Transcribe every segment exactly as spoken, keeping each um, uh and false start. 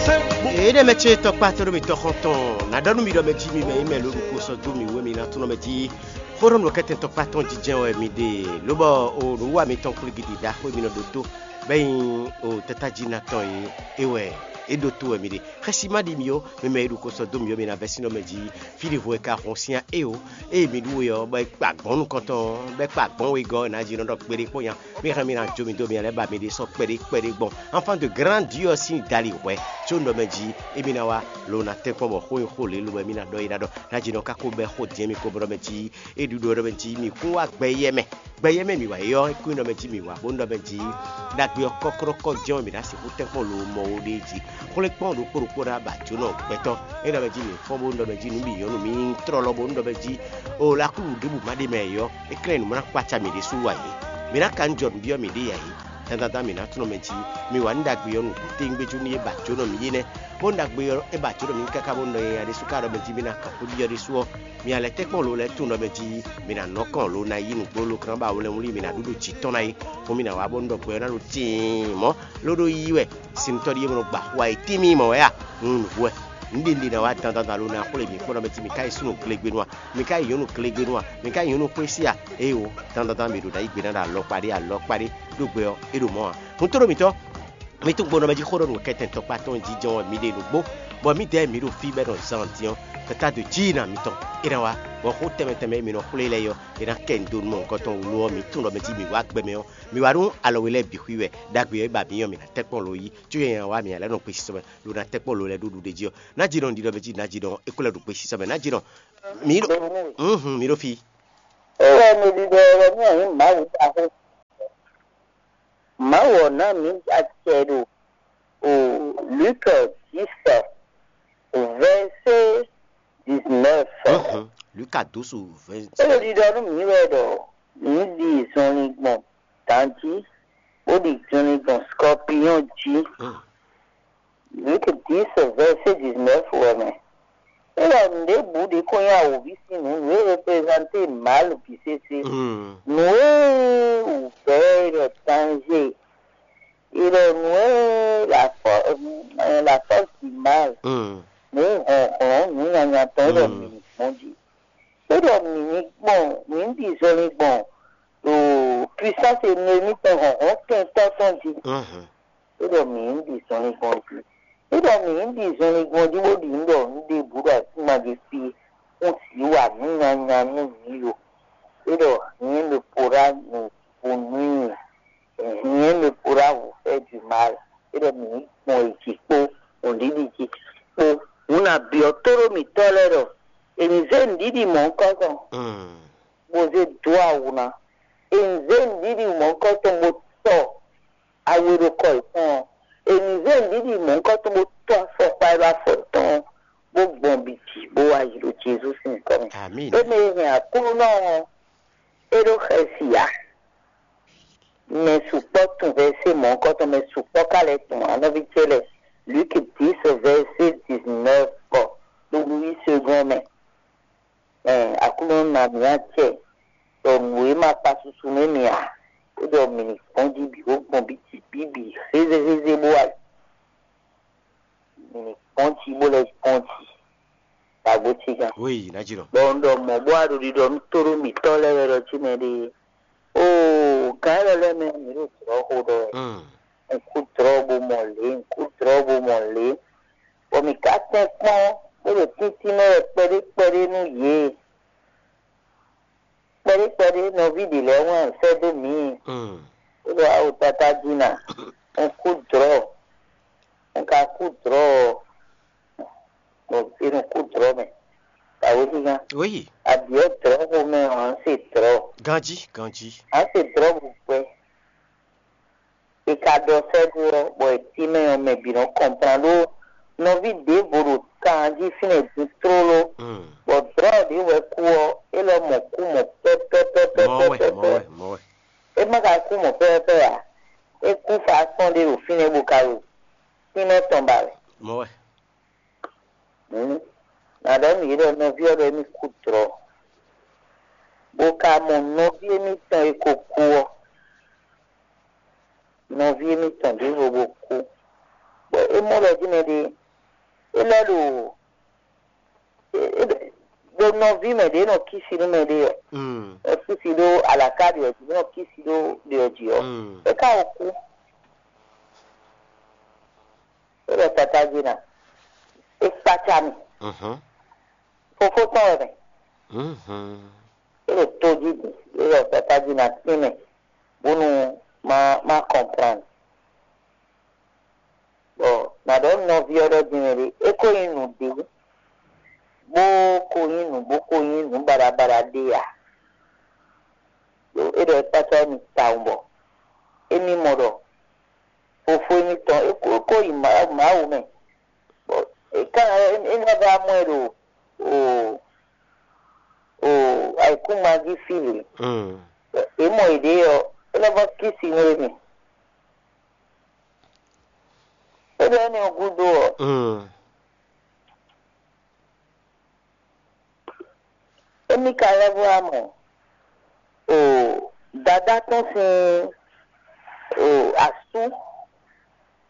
Énɛ́ mɛ ce tɔkpá tɔn ɖo mi tɔxɔn tɔn, nǎ ɖɔ nú mi ɖɔ mɛ jí mi mɛ nyí mɛ lǒ ɖokpó sɔ́ dó mì wú e mi ná tlɔ́n mɛ jí. Xó ɖɔ nǔ kɛ́tɛn tɔkpá tɔn jínjɛ́n wɛ mi ɖe, lobɔ o nǔwiwa mitɔn kplígidi ɖaxó e mi nɔ ɖótó, bɔ é nyí o tátájí ná tɔn e é wɛ é ɖótó wɛ mi ɖe. Xɛsi má ɖi mi ó, mi mɛ e ɖo ko sɔ́ dó mi ó, mi ná vɛ́ sín nɔ mɛ jí. Fí ɖěvo e ka hɔn syán é ó, ée mi ɖu we ɔ́, bɔ é kpa gbɔn nukɔntɔn ɔ́, bɔ é kpa gbɔn wegɔ́ ɔ́, nǎ jí nɔ ɖɔ kpeɖé kpó nya. Mi hɛn mi ná jó mi dó mi lɛ́ ba mi ɖésú kpɛɖé kpɛɖé gbɔn. Enfant de grande Dieu ɔ́ sín dali hwɛ̌ có un ɖɔ mɛ jí émí ná wá, lo ná tɛ́nkpɔ́n bɔ xó nyi xó lě lobo émí ná ɖɔ é ná ɖɔ. Ná jí nɔ ká ko bɛ́ xó din mi ko bɔ ɖɔ mɛ jí é ɖu ɖɔ mɛ jí mi kún wá gbɛ yɛ mɛ. Gbɛ yɛ mɛ mi wá é ɔ́, é kún ɖɔ mɛ jí mi wá bónú ɖɔ mɛ jí ɖagbe ɔ́ kɔ́kɔ́kɔ́ jɛ́n ɔ́, mi ná sixú tɛ́nkpɔ́n lo mɔ wo ɖé jí. Xwlé kpɔ́n ɖokpó ɖokpó ɖó abǎ jónɔ gbɛtɔ́. É ɖɔ mɛ jí mi fɔ́n bónú ɖɔ mɛ jí nǔ bǐ nyɔ́ nú mi nyí tlɔlɔ bónú ɖɔ mɛ jí o lakúlu ɖěbǔ má ɖe mɛ ɔ́, é klɛ́n nǔ má ná kpácá mǐ ɖésú wá yě. Mǐ ná ka nú jɔ nǔ byɔ́ mǐɖée ǎ é. Dandan mǐ ná tunɔ mɛ jí. Mi wa nú ɖagbe ɔ́ nǔgbó téwúngbéjú nú é ba jǒnɔ mǐ é nɛ́. Bónú ɖagbe ɔ́ é ba jǒnɔ mǐ káká bónú nɔ nyanya ɖésú ka ɖɔ mɛ jí mǐ ná kan xwé byɔ́ ɖésú ɔ́, mi ná lɛ́ tɛ́nkpɔ́n lo lɛ́ɛ tunɔ mɛ jí. Mi ná nɔ kɔn lo ná yí nǔgbó lo kán ba wlɛ́nwlí mi ná ɖu ɖo jǐ tɔn ná é. Fún mi ná wá bónú ɖɔ gbɛ ɔ́ ná ɖo tiin mɔ̌, ló ɖó yí wɛ. Sinnutɔ́ ɖíe mɔ nɔ gba xu ayǐtín mì mɔ̌ wɛ a? Un nǔ wɛ. Nǔɖé un ɖe ná wá dandan lo ná xwlé mi kpɔ́n ɖɔ mɛ jí mi ka yi súnnu glegbenu a? Mi ka yi nyɔ̌nu glegbenu a? Mi ka yi nyɔ̌nu xwé sí a? Éewo, dandandan mǐ ɖo ná yí gbe ná ɖo alɔkpa ɖé alɔkpa ɖé ɖó gbɛ ɔ́, é ɖo mɔ̌ ǎ. Hun tlóló mǐtɔn, mi tún gbo nɔ mɛ jí xó ɖɔ nǔ kɛntɛn tɔkpá tɔn jínjɔ́n wɛ mi ɖe nǔgbó, bɔ mǐdɛɛ mǐ ɖo fí bɔ é nɔ zán din ɔ́, tata ɖo jí yi na mitɔn, é ná wá, bɔ xó tɛnmɛ tɛnmɛ e mi nɔ xwlé lɛ́ɛ ɔ́, é ná kɛ nǔ dó nú mɔ nukɔn tɔn wú ló ɔ́, mǐ tunwun ɖɔ mɛ jí mǐ wá gbɛ mɛ ɔ́, mǐ wá nú alɔ we lɛ́ɛ bǐ xwí wɛ, ɖagbe ɔ́ é ba mǐ ɔ́, mǐ ná tɛ́nkpɔ́n lo yí, có yɛ nyan wá mǐ ná lɛ́ nɔ kpesisɔ mɛ, lo ná tɛ́nkpɔ́n lo lɛ́ɛ ɖó ɖuɖéjí ɔ́, ná jí nɔ un ɖiɖɔ mɛ jí ná jí nɔ é kó lɛ́ ɖo kpesisɔ mɛ, ná jí nɔ mǐ ɖo mǐ ɖo fí. É wɛ mi ɖiɖɔ wɛ mì ɔ́ nyí Mawu ɖaxó. Mawu ɔ́ ná mǐ acɛ ɖo o Luke dix, verset dix-neuf. Luka dó so vɛ́. É ɖo ɖiɖɔ nú mǐ wɛ ɖɔ mǐ ɖi zɔnlin gbɔn dǎn jí, bó ɖi zɔnlin gbɔn scorpion jí. Luke dix, verset dix-neuf wɛ mɛ. É ɖɔ nǔɖébǔ ɖě ko nyí awǒvi sín nǔ, nǔ e reprezanté mal bǐ sésé. Nǔ e wǔvɛ́ è ɖɔ danger, è ɖɔ nǔ e la fɔ- la force du mal, nǔ hlɔ̌nhlɔ́n nǔ nyanya tɔn é ɖɔ mǐ ní gbɔn jí. É ɖɔ mǐ ní gbɔn, mǐ ní ɖi zɔnlin gbɔn ɖo puissance e nɔ émítɔn hlɔ̌nhlɔ́n kɛntɔ́ tɔn jí. É ɖɔ mǐ ní ɖi zɔnlin gbɔn jí. É ɖɔ mǐ ní ɖi zɔnlin gbɔn jí bó ɖi nǔ ɖɔ nǔ ɖěbǔ ɖo asíma jí fí, xú sǐ wa nǔ nyanya nú mǐ lo. É ɖɔ rien ne pourra nous punir, rien ne pourra vous faire du mal. É ɖɔ mǐ ní gbɔn yi jí kpó nǔɖiɖi jí kpó. Hǔn nǎ byɔ́ tóɖó mǐtɔn lɛ́ɛ ɖɔ è ní zé nǔɖiɖi mɔ̌hunkɔtɔn bó zé dó awu ná. È ní zé nǔɖiɖi mɔ̌hunkɔtɔn bó tɔ awu e ɖo kɔ yětɔn ɔ́. È ní zé nǔɖiɖi mɔ̌hunkɔtɔn bó tɔ afɔkpa e ɖo afɔ tɔn ɔ́, bó gbɔn bǐ jí bó wá yi ɖo Jezu sín nyǐkɔ mɛ. Émɛ e hɛn Aklúnɔ ɔ́, é ɖó xɛsi ǎ. Mɛ sukpɔ́ tunwun vɛ̌sé mɔ̌hunkɔtɔn, mɛ sukpɔ́ ka lɛ́ tunwun ǎ, nɔví ce lɛ́ɛ. Luc dix, verset dix-neuf kɔ ɖo Louis Segɔn mɛ. Ɛɛ, Aklúnɔ ná mǐ acɛ ɖɔ nǔ e ma kpa susu nú mì ǎ, é ɖɔ mǐ ní gbɔn jí bǐ bó gbɔn bǐ jí bǐ bǐ hézéhézé bó wá yi. Mǐ ní gbɔn jí bó lɛ́ gbɔn jí. Dǎgbó ce gán. Oui, ná jí nɔ. Bɔ un ɖɔ mɔ̌ bó wá ɖo ɖiɖɔ nú tóɖó mǐtɔn lɛ́ɛ wɛ ɖɔ jí mɛ ɖe. Oo, gǎn élɔ́ lɛ́ɛ mɛ mǐ ɖo jlɔ̌ xo ɖɔ wɛ. Un kú dlɔ̌ bó mɔ lě, un kú dlɔ̌ bó mɔ lě. Bɔ mǐ ka tɛ́n kpɔ́n bó ɖo tíntín mɛ wɛ kpɛɖé kpɛɖé nú yě. Kpɛɖé kpɛɖé nɔví ɖě lɛ́ɛ wɛn sɛ́ dó mǐ. Bó ɖɔ awo tata jí na, un kú dlɔ̌, un ka kú dlɔ̌ ɔ́, bɔ è nɔ kú dlɔ̌ mɛ. Kàwé xíxá. Oui. Àbíọ́ dlɔ̌ xomɛ ɔ́, à ń se dlɔ̌. Ganjí, ganjí. À ń se dlɔ̌ bó gbɛ. È ka ɖɔ sɛ́ dó ɔ́, bɔ è cí mɛ ɔ́, mɛ bǐ nɔ kɔnplán ɖó nɔví ɖěvo ɖo kan jí fínɛ́ din tlóló, bɔ dlɔ̌ ɖě wɛ kú ɔ́, é lɔ mɔ kú mɔ pɛ́pɛ́pɛ́pɛ́pɛ́pɛ́. Mɔ̌ wɛ, mɔ̌ wɛ. É má ka kú mɔ pɛ́pɛ́pɛ́ ǎ. É kú fa akpɔ́n ɖé ɖo fínɛ́ bó ka ɖo tínmɛ tɔn ba wɛ. Mɔ̌ wɛ. Hǔn, nǎ ɖɔ nú yě ɖɔ nɔví ɔ́ ɖɔ émí kú dlɔ̌, bó ka mɔ nɔví émítɔn e ko kú ɔ́, nɔví émítɔn ɖěvo bó kú, bɔ É mɔ ɖɔ jí mɛ ɖé, é lɛ́ ɖo é- é- ɖo nɔví mɛ ɖě nɔ kísi nú mɛ ɖé ɔ́, Mm. Nɔ kísi ɖó alakaɖi ɔ́ jí, nɔ kísi ɖó ɖě ɔ́ jí ɔ́, Mm. É ka ko kú. É ɖɔ tata jí ná, é kpácá mì. Mhm. Fofó tɔn wɛ mɛ. Mhm. É ɖo tójí din, é ɖɔ tata jí ná tín mɛ, bónú má má kɔnplan. Bɔ nǎ ɖɔ nɔví ɔ́ ɖɔ din mɛ ɖé, é ko nyí nǔɖé, bó ko nyí nǔ bó ko nyí nǔ baɖabaɖa ɖé ǎ. Ɖó é ɖɔ é kpácá émí tawun bɔ émí mɔ ɖɔ fofó émítɔn é ko é ko yi Mawu Mawu mɛ. Bɔ é ka é é ná vá mɔ ɛ ɖo o o ayǐkúngban jí fí lě. Mm. É mɔ yěɖée ɔ́, é nɔ vɔ́ kísi nú émí. É ɖɔ énɛ́ ɔ́ gúdo ɔ́, Mm. Émí ka lɛ́ vɔ wá mɔ o dadá tɔn sín o asú,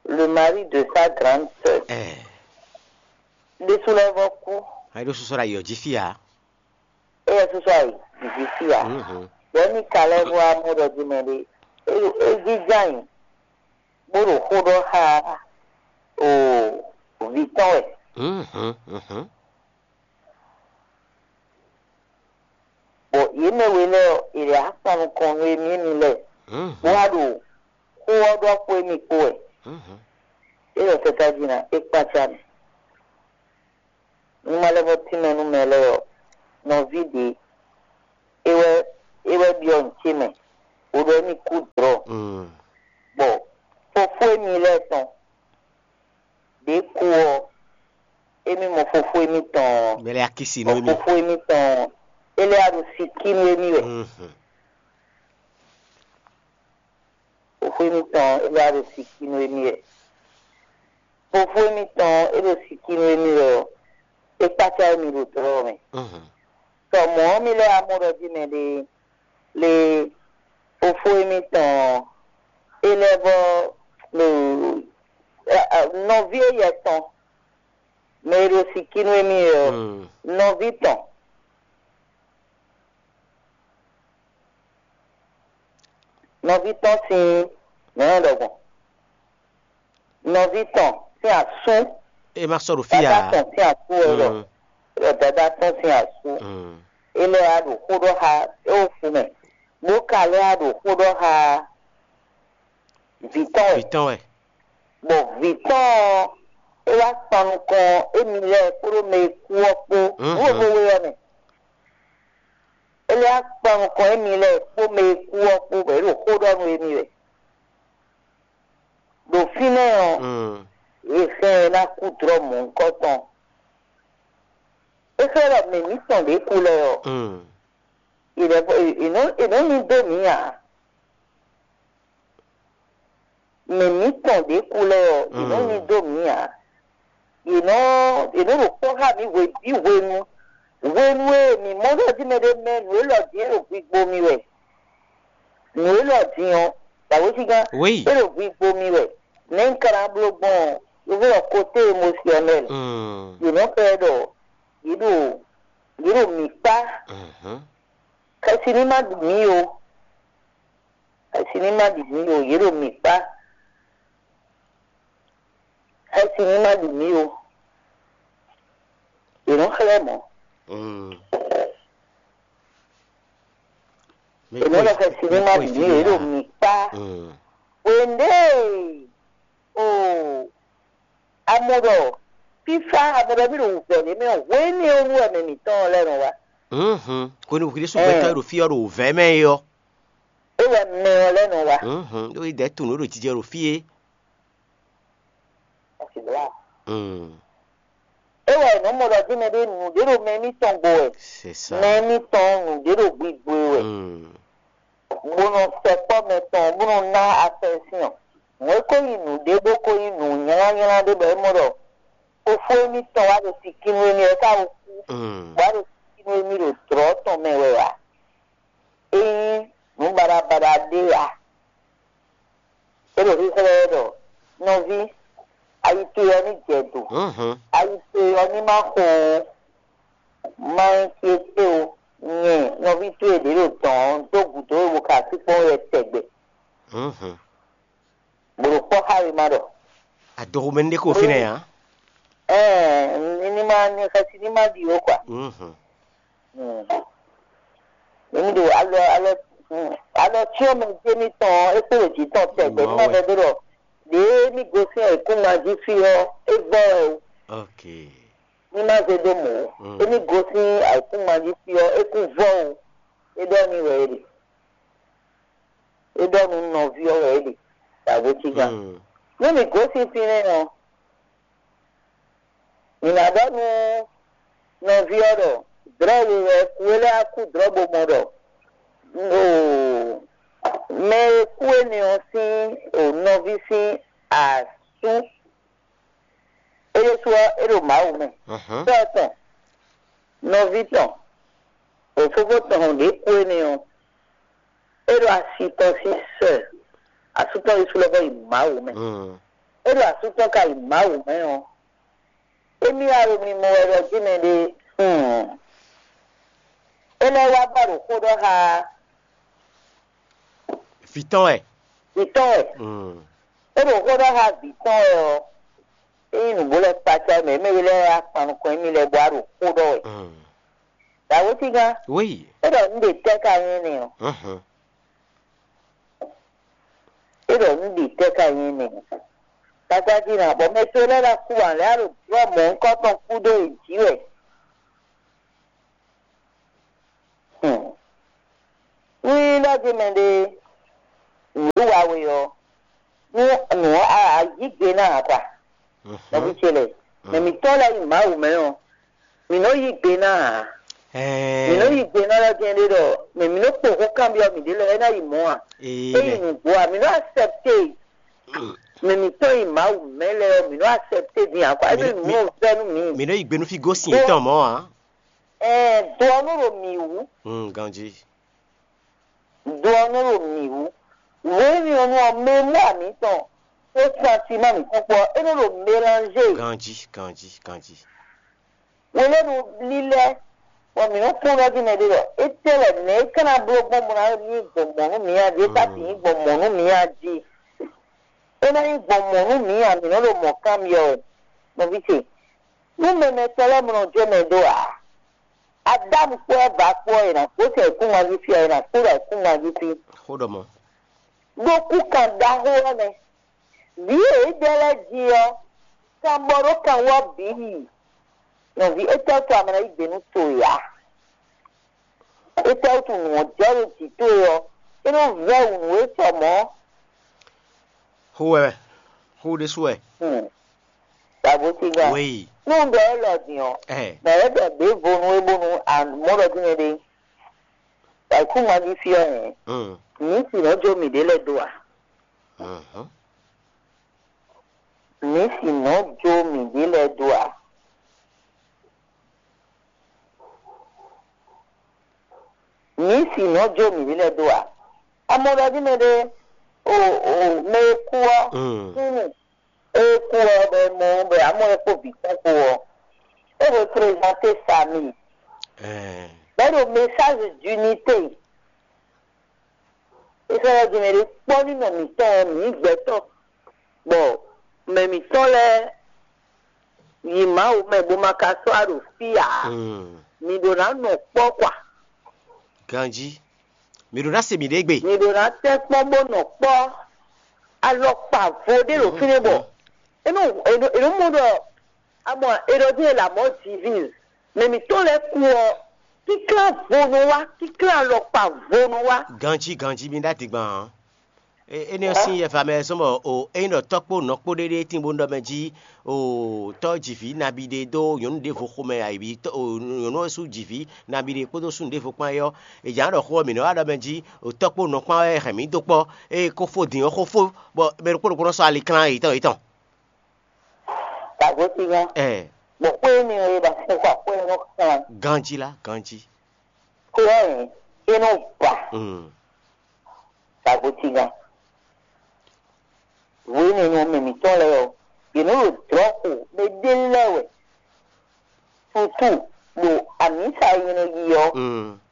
le mari de sa grande sœur, Ɛɛ, ɖésú lɛ́ vɔ kú. Ayi ɖó sɔsɔ ɖo ayǐ ɔ́ jí fí ǎ. Éyɛ́ sɔsɔ ayǐ jí fí ǎ. Mhm. Bɔ émí ka lɛ́ vɔ wá mɔ ɖɔ jí mɛ ɖé, é é jínjɔ́n ayǐ bó ɖo xó ɖɔ xá o vǐ tɔn wɛ. Mhm, mhm. Bɔ yě mɛ we lɛ́ɛ ɔ́, è lɛ̌ akpan nukɔn nú émí émí lɛ́ɛ, Mhm. bó wá ɖo xó ɔ́ ɖɔ kpó émí kpó wɛ. Mhm. É ɖɔ tata jí ná é kpácá mì. Nú má lɛ́ vɔ́ tínmɛ nú mɛ lɛ́ɛ ɔ́, nɔví ɖě é wɛ é wɛ byɔ́ nǔ ce mɛ, bó ɖɔ émí kú dlɔ̌. Mm. Bɔ fofó émí lɛ́ɛ tɔn ɖě kú ɔ́, émí mɔ fofó émítɔn ɔ́, Mɛ lɛ́ɛ akísi nú bɔ émí. Fofó émítɔn ɔ́, é lɛ́ wá ɖo sikí nú émí wɛ. Mhm. Fofó émítɔn ɔ́, é lɛ́ wá ɖo sikí nú émí wɛ. Fofó émítɔn ɔ́, é ɖo sikí nú émí wɛ ɔ́, é kpácá émí ɖo dlɔ́ ɔ́ mɛ. Mhm. Sɔ mɔ̌ ɔ́, mì lɛ́ wá mɔ ɖɔ jí mɛ ɖé lé fofó émítɔn ɔ́, é lɛ́ vɔ́ ɖo nɔví éyɛ́ tɔn, mɛ e ɖo sikí nú émí wɛ ɔ́, Mm. nɔví tɔn, nɔví tɔn sín nɛ̌ ɖɔgbɔn, nɔví tɔn sín asú, É má sɔ́ ɖo fí dadá ǎ. Tɔn sín asú wɛ ɖɔ, Mm. ɖɔ dadá tɔn sín asú, Mm. é lɛ́ wá ɖo xó ɖɔ xá é wǒ fu mɛ, bó ka lɛ́ wá ɖo xó ɖɔ xá vǐ tɔn wɛ. Vǐ tɔn wɛ. Bɔ vǐ tɔn ɔ́, é wá kpan nukɔn émí lɛ́ɛ kpódó mɛ e kú ɔ́ kpó Mhm. nǔ e we ɔ́ mɛ. É lɛ́ wá kpan nukɔn émí lɛ́ɛ kpó mɛ e kú ɔ́ kpó, bɔ é ɖo xó ɖɔ nú émí wɛ. Ɖo fínɛ́ ɔ́, Mm. è xlɛ́ ɛ ná kú dlɔ́ mɔ̌hunkɔtɔn. É xlɛ́ ɖɔ mɛ mǐtɔn ɖě kú lɛ́ɛ ɔ́, Mm. è nɔ è nɔ è nɔ ní dó mǐ ǎ. Mɛ mǐtɔn ɖě kú lɛ́ɛ ɔ́, è nɔ Mm. ní dó mǐ ǎ. È nɔ è nɔ ɖo kpɔ́ xá mǐ hwebǐ hwenu. Hwenu e mǐ mɔ ɖɔ jí mɛ ɖé mɛ nǔ élɔ́ din é ɖo gbigbo mì wɛ. Nǔ élɔ́ din ɔ́, dǎwéjigán Oui. é ɖo gbigbo mì wɛ. Nɛ̌ un ka ná bló gbɔn ɔ́, yovó ɖɔ kote émosyɔnɛl. Mm. Yě nɔ xlɛ́ ɖɔ yě ɖo yě ɖo mǐ kpá. Mhm. Xɛsi ní má ɖu mǐ o. Xɛsi ní má ɖu mǐ o. Yě ɖo mǐ kpá. Xɛsi ní má ɖu mǐ o. Yě nɔ xlɛ́ mɔ̌. Mm. Yě nɔ ɖɔ xɛsi ní má ɖu mǐ o. Yě ɖo mǐ kpá. Mm. Wěndé o. Amɔ ɖɔ fífá, amɔ ɖɔ mí ɖo wǔvɛ́ ɖé mɛ ɔ́, hwéénú ɔ́ wú wɛ mɛ mǐtɔn lɛ́ɛ nɔ wá. Mhm. Hwenu hwi ɖésú gbɛtɔ́ e ɖo fí ɔ́ ɖo wǔvɛ́ mɛ é ɔ́. É wɛ mɛ ɔ́ lɛ́ɛ nɔ wá. Mhm. Ɖó é dɛ̌ tunwun ɖó ɖo jijɛ ɖo fí é. Mm. É wɛ è nɔ mɔ ɖɔ jí mɛ ɖé nǔɖé ɖo mɛ émítɔn gbo wɛ. C'est ça. Mɛ émítɔn nǔɖé ɖo gbigbo e wɛ. Mm. Bó nɔ sɛkpɔ́ mɛ tɔn bó nɔ ná afɛ́sín ɔ́, nǔ e ko nyí nǔɖé bó ko nyí nǔ nylánylá ɖé bɔ é mɔ ɖɔ fofó émítɔn wá ɖo sikínú émí wɛ é ka ko kú, Mm. bó wá ɖo sikínú émí ɖo dlɔ̌ tɔn mɛ wɛ ǎ. É nyí nǔ baɖabaɖa ɖé ǎ. É ɖo xíxlɛ́ wɛ ɖɔ nɔví, Ayi towe ɔ́ ní jɛ do. Mhm. Ayi towe ɔ́ ní má xo ó. Má nyí fí étɛ́ o, nyɛ nɔví towe ɖě ɖo dɔ̌n ɔ́ dó gǔdo we bo ka sí kpɔ́n wɛ tɛgbɛ. Mhm. Bó ɖo kpɔ́ xá we má ɖɔ. Adoxomɛ ní ɖé ko fínɛ́ ǎ. Ɛɛ, ní ní má ní xɛsi ní má ɖi ó kwa. Mhm. Mm. Èmi ɖo alɔ alɔ mm, alɔ cyɔ́n mɛ jé mítɔn ɔ́, é kpó ɖo jǐ tɔn tɛgbɛ ní má vɛdó ɖɔ ɖě mí gosín ayǐkúngban jí fí ɔ́, é vɔ́ wɛ o. Ok. Ní má zé dó mɔ̌ ó. Mm. Émí gosín ayǐkúngban jí fí ɔ́, é kún vɔ́ o. É ɖɔ n'i wɛ é ɖe. É ɖɔ nú nɔví ɔ́ wɛ é ɖe. Dǎgbéjígán. Mm. Nú mǐ gosín fínɛ́ ɔ́, mǐ ná ɖɔ nú nɔví ɔ́ ɖɔ dlɔ̌ we wɛ kú é lɛ́ wá kú dlɔ̌ bo mɔ ɖɔ oo, mɛ e kú énɛ́ ɔ́ sín o nɔví sín asú é ɖésú ɔ́, é ɖo Mawu mɛ. Mhm. Sɔ́ tɔn, nɔví tɔn, o fofó tɔn ɖě kú énɛ́ ɔ́, é ɖo asi tɔn sín sɛ, asú tɔn ɖésú lɛ́ vɔ́ yi Mawu mɛ. Mm. É ɖo asú tɔn ka yi Mawu mɛ ɔ́, émí wá ɖo mimɔ wɛ ɖɔ jí mɛ ɖé, hmm, é lɛ́ wá ba ɖo xó ɖɔ xá Vǐ tɔn wɛ. Vǐ tɔn wɛ. Mm. É ɖo xó ɖɔ xá vǐ tɔn wɛ ɔ́, é nyí nǔgbó lɛ́ɛ kpácá mɛ, mɛ we lɛ́ɛ wá kpan nukɔn émí lɛ́ɛ bɔ á ɖo xó ɖɔ wɛ. Mm. Dǎwétígán, Oui. É ɖɔ nǔ ɖe tɛ́ ka nyí n'i ɔ́. Mhm. É ɖɔ nǔ ɖe tɛ́ ka nyí n'i. Kpácá jí ná, bɔ mɛ to lɛ́ɛ ná kú ǎ lɛ́ɛ á ɖo drɔ́ mɔ̌hunkɔtɔn kú ɖó yě jí wɛ. Hmm. Nú nyí ɖɔ jí mɛɖé nǔ wa we ɔ́, nú nǔ ɔ́ a yí gbe ná ǎ kwa. Nɔví ce lɛ́ɛ, mɛ mǐtɔn lɛ́ɛ yi Mawu mɛ ɔ́, mǐ nɔ yí gbe ná ǎ. Mǐ nɔ yí gbe ná lɛ́ jɛ́n ɖé ɖɔ mɛ mǐ nɔ kpo xó kanbyɔ́ mǐɖée lɛ́ɛ é ná yi mɔ̌ ǎ. É yi nǔgbó ǎ, mǐ nɔ accepté. Mɛ mǐtɔn yi Mawu mɛ lɛ́ɛ ɔ́, mǐ nɔ accepté din ǎ kwa. É nɔ nǔ nɔ vɛ́ nú mǐ. Mǐ nɔ yi gbe nú fí gosín yětɔn mɔ̌ ǎ. Ɛɛ, do ɔ́ nɔ ɖo mǐ wú. Mm, ganjí. Do ɔ́ nɔ ɖo mǐ wú. Wěwínɔnú ɔ́, mɛ e mɔ amǐtɔn kpó santima mǐtɔn kpó ɔ́, é nɔ ɖo mélangé. Ganjí, ganjí, ganjí. Hweɖénu lílɛ́, bɔ mǐ nɔ kpɔ́n ɖɔ jí mɛ ɖé ɖɔ étɛ́ wɛ nɛ̌ é ka ná bló gbɔn bó ná nyí gbɔn mɔ̌ nú mǐ a jí, é ka sixú nyí gbɔn mɔ̌ nú mǐ a jí. É ná nyí gbɔn mɔ̌ nú mǐ a, mǐ nɔ ɖo mɔ̌ kanbyɔ́ wɛ, nɔví ce. Nú mɛmɛ tɔn lɛ́ɛ mɔ nɔ jó mɛ dó ǎ, Adámu kpó Ɛva kpó ɔ́, è nǎ kpó sɛn ayǐkúngban jí fí ɔ́, è nǎ kpó ɖo ayǐkúngban jí fí. Xó ɖɔ mɔ̌. Ɖó kúkan ɖaxó ɔ́ nɛ́. Vǐ e é ɖe lɛ́ɛ jí ɔ́, kanbɔ ɖó kanwú ɔ́ bǐ yi. Nɔví, étɛ́ wútu a ma ná yí gbe nú towe ǎ? Étɛ́ wútu nǔ ɔ́ jɛ ɖo jǐ towe ɔ́, é nɔ vɛ́ wǔ nú we sɔ mɔ̌. Xó wɛ, xó ɖésú wɛ. Hmm. Dǎgbótígán. Wéyi. Nú un ɖɔ élɔ́ din ɔ́, Ɛ. Mɛ̌ wɛ ɖɔ ɖěvo nú we bónú a mɔ ɖɔ dínɛ ɖé? Ayǐkúngban jí fí ɔ́ hɛn. Mm. Mǐ sì nɔ́ jó mǐɖée lɛ́ɛ dó a? Mhm. Mǐ sì nɔ́ jó mǐɖée lɛ́ɛ dó a? Mǐ sì nɔ́ jó mǐɖée lɛ́ɛ dó a? A mɔ ɖɔ dínɛ ɖé, o o mɛ e kú ɔ́, Mm. súnnu e kú ɔ́ bɔ è mɔ ɔ́, bɔ amɔ e kpó vǐ tɔn kpó ɔ́, é représente famille. Ɛɛ. Bɔ é ɖo message d'unité. Israɛl jɛnɛ ɖé kpɔ́ nínɔ mǐtɔn ɔ́, mǐ nyí gbɛtɔ́, bɔ mɛ mǐtɔn lɛ́ɛ yi Mawu mɛ bó ma ka sɔ́ wá ɖo fí ǎ. Mm. Mi ɖo ná nɔ kpɔ́ kwa. Ganjí. Mi ɖo ná se miɖée gbe. Mi ɖo ná tɛ́ kpɔ́n bó nɔ kpɔ́. Alɔkpa vo ɖé ɖo fínɛ́ bɔ é nɔ é nɔ é nɔ mɔ ɖɔ amɔ é ɖɔ dé la mɔ divise. Mɛ mǐtɔn lɛ́ɛ kú ɔ́, kíklá vo nɔ wá, kíklá alɔkpa vo nɔ wá. Ganjí ganjí mi ɖó adigban ǎ. E- Énɛ́ ɔ́ sín yɛfa mɛ zɔ́n bɔ o ényí ɖɔ tɔ́ kpó nɔ kpó ɖéɖéé tín bó ɖɔ mɛ jí o tɔ́ jivǐ nabi ɖé dó nyɔ̌nu ɖěvo xomɛ ayǐ tɔ́- o nyɔ̌nu ɔ́ sú jivǐ nabi ɖé kpódó súnnu ɖěvo kpán é ɔ́, è jǎ ɖɔ xó ɔ́ mǐ nɔ wá ɖɔ mɛ jí o tɔ́ kpó nɔ kpán wɛ hɛn mǐ dó kpɔ́, ée kó fó din ɔ́ xó fó, bɔ mɛ ɖokpó ɖokpó nɔ sɔ́ ali klán yětɔn yětɔn. Dǎgbótígán. Ɛ Bɔ xwé énɛ́ ɔ́, é ba fún xɔ akwɛ́ nɔ kan. Ganjí lá, ganjí. Xwé ɔ́ hɛn é nɔ ba. Mm. Dǎgbótígán. Wěnɛnu mɛ mǐtɔn lɛ́ɛ ɔ́, Yě nɔ ɖo dlɔ̌ xo mɛ ɖé lɛ́ɛ wɛ, sutu ɖo amǐsa e nyɛ nɔ yi ɔ́,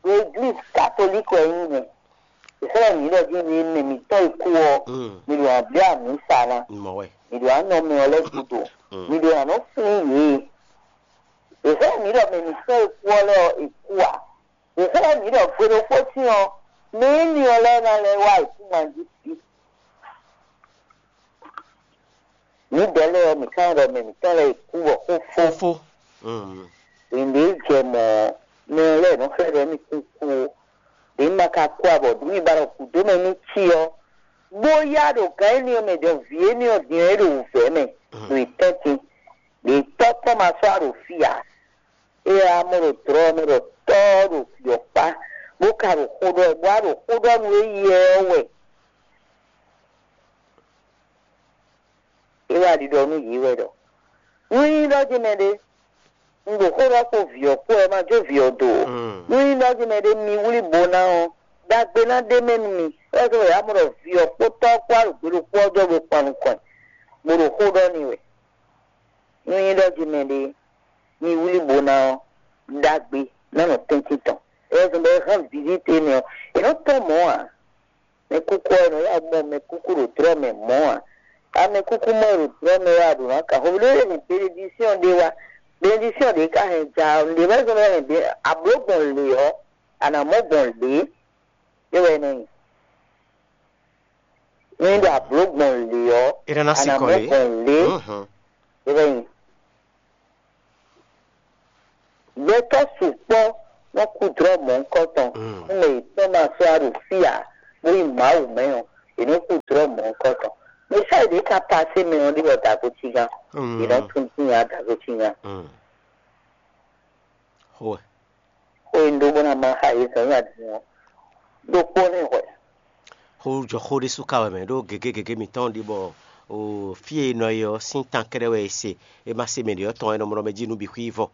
ɖo eglízi katolíki wɛ nyí mɛ. È xlɛ́ mǐ ɖɔ jí mi mɛ mǐtɔn e kú ɔ́, mi ɖo nǎ blí amǐsa ná, mi ɖo nǎ nɔ mɛ ɔ́ lɛ́ɛ gúdo, mi ɖo nǎ nɔ flín yě. È xlɛ́ mǐ ɖɔ mɛ mǐtɔn e kú ɔ́ lɛ́ɛ ɔ́, è kú ǎ. È xlɛ́ mǐ ɖɔ gbe ɖokpó sín ɔ́, mɛ énɛ́ ɔ́ lɛ́ɛ ná lɛ́ wá ayǐkúngban jí. Mǐdɛɛ lɛ́ɛ ɔ́, mǐ ka ɖɔ mɛ mǐtɔn lɛ́ɛ kú bɔ xó fó. Fó. Nǔɖé jɛ mɔ̌, mɛ lɛ́ɛ nɔ xlɛ́ ɖɔ émí kún kú ó. Ɖě ma ka kú ǎ bɔ ɖě mi ba ɖɔ gǔdo mɛ ní cí ɔ́, bó yá ɖo gǎn énɛ́ ɔ́ mɛ ɖɔ vǐ énɛ́ ɔ́ din ɔ́, é ɖo wǔvɛ́ mɛ ɖo yi tɛ́ntin. Ɖě tɔ́ tɔn ma sɔ́ ɖo fí ǎ. É wá mɔ ɖo dlɔ̌ ɔ́ mɛ ɖɔ tɔ́ ɔ́ ɖo vǐ ɔ́ kpá, bó ka ɖo xó ɖɔ wɛ, bó wá ɖo xó ɖɔ nú éyɛ́ ɔ́ wɛ. É wá ɖiɖɔ nú yě wɛ ɖɔ: Nú nyí ɖɔ jí mɛɖé, un ɖo xó ɖɔ kpó vǐ ɔ́ kpó wɛ, ma jó vǐ ɔ́ do ó. Nú nyí ɖɔ jí mɛɖé mi wlí bo ná ɔ́, ɖagbe ná ɖ'é mɛ nú mi. É wɛ zɔ́n bɔ yě wá mɔ ɖɔ vǐ ɔ́ kpó tɔ́ ɔ́ kpó wá ɖo gbe ɖokpó ɔ́ jɔ bó kpan nukɔn ɛ, bó ɖo xó ɖɔ n'i wɛ. Nú nyí ɖɔ jí mɛɖé mi wlí bo ná ɔ́, ɖagbe ná nɔ tɛ́ntin tɔn. É wɛ zɔ́n bɔ é hɛn vǐví te nɛ ɔ́, è nɔ tɔ́n mɔ̌ ǎ. Mɛkúkú ɔ́, è nɔ yá mɔ mɛkúkú ɖo dlɔ́ mɛ mɔ̌ ǎ. Amɛkúkú mɔ e ɖo dlɔ́ mɛ wɛ a ɖǒ ná kan xo ɖé hɛn benedisíɔn ɖé wá. Benedisíɔn ɖě ka hɛn ja ɔ́, nǔɖé wɛ zɔ́n bɔ é hɛn be ablǒ gbɔn lě ɔ́, a nǎ mɔ gbɔn lě. É wɛ é nɔ nyi. Nú é ɖo ablǒ gbɔn lě ɔ́, é ná ná a nǎ sikɔ mɔ lě. Gbɔn lě. Mhm. É wɛ nyi. Gbɛtɔ́ sukpɔ́ nɔ kú dlɔ́ mɔ̌hunkɔtɔn, mm, nú mɛ yětɔn ma sɔ́ wá ɖo fí ǎ, bó yi Mawu mɛ ɔ́, yě nɔ kú dlɔ́ mɔ̌hunkɔtɔn. Mɛ sɛ́ ɖě ka pasé mɛ ɔ́ ɖi bɔ dǎgotíngán, mm, yě nɔ tún dín nya dǎgotíngán. Mm. Xó e. Xó e un ɖó bó ná má xa yě zɔn nyi adǐn ɔ́, ɖokpó nɛ́ hwɛ. Xó jɔ xó ɖésú ka wɛ mɛ, ɖó gěgé gěgé mǐtɔn ɖi bɔ o fí e è nɔ yi ɔ́ sín tan kɛ́ɖɛ́ wɛ è se, è ma se mɛ ɖě ɔ́ tɔn, è nɔ mɔ ɖɔ mɛ jí nǔ bǐ xwí vɔ,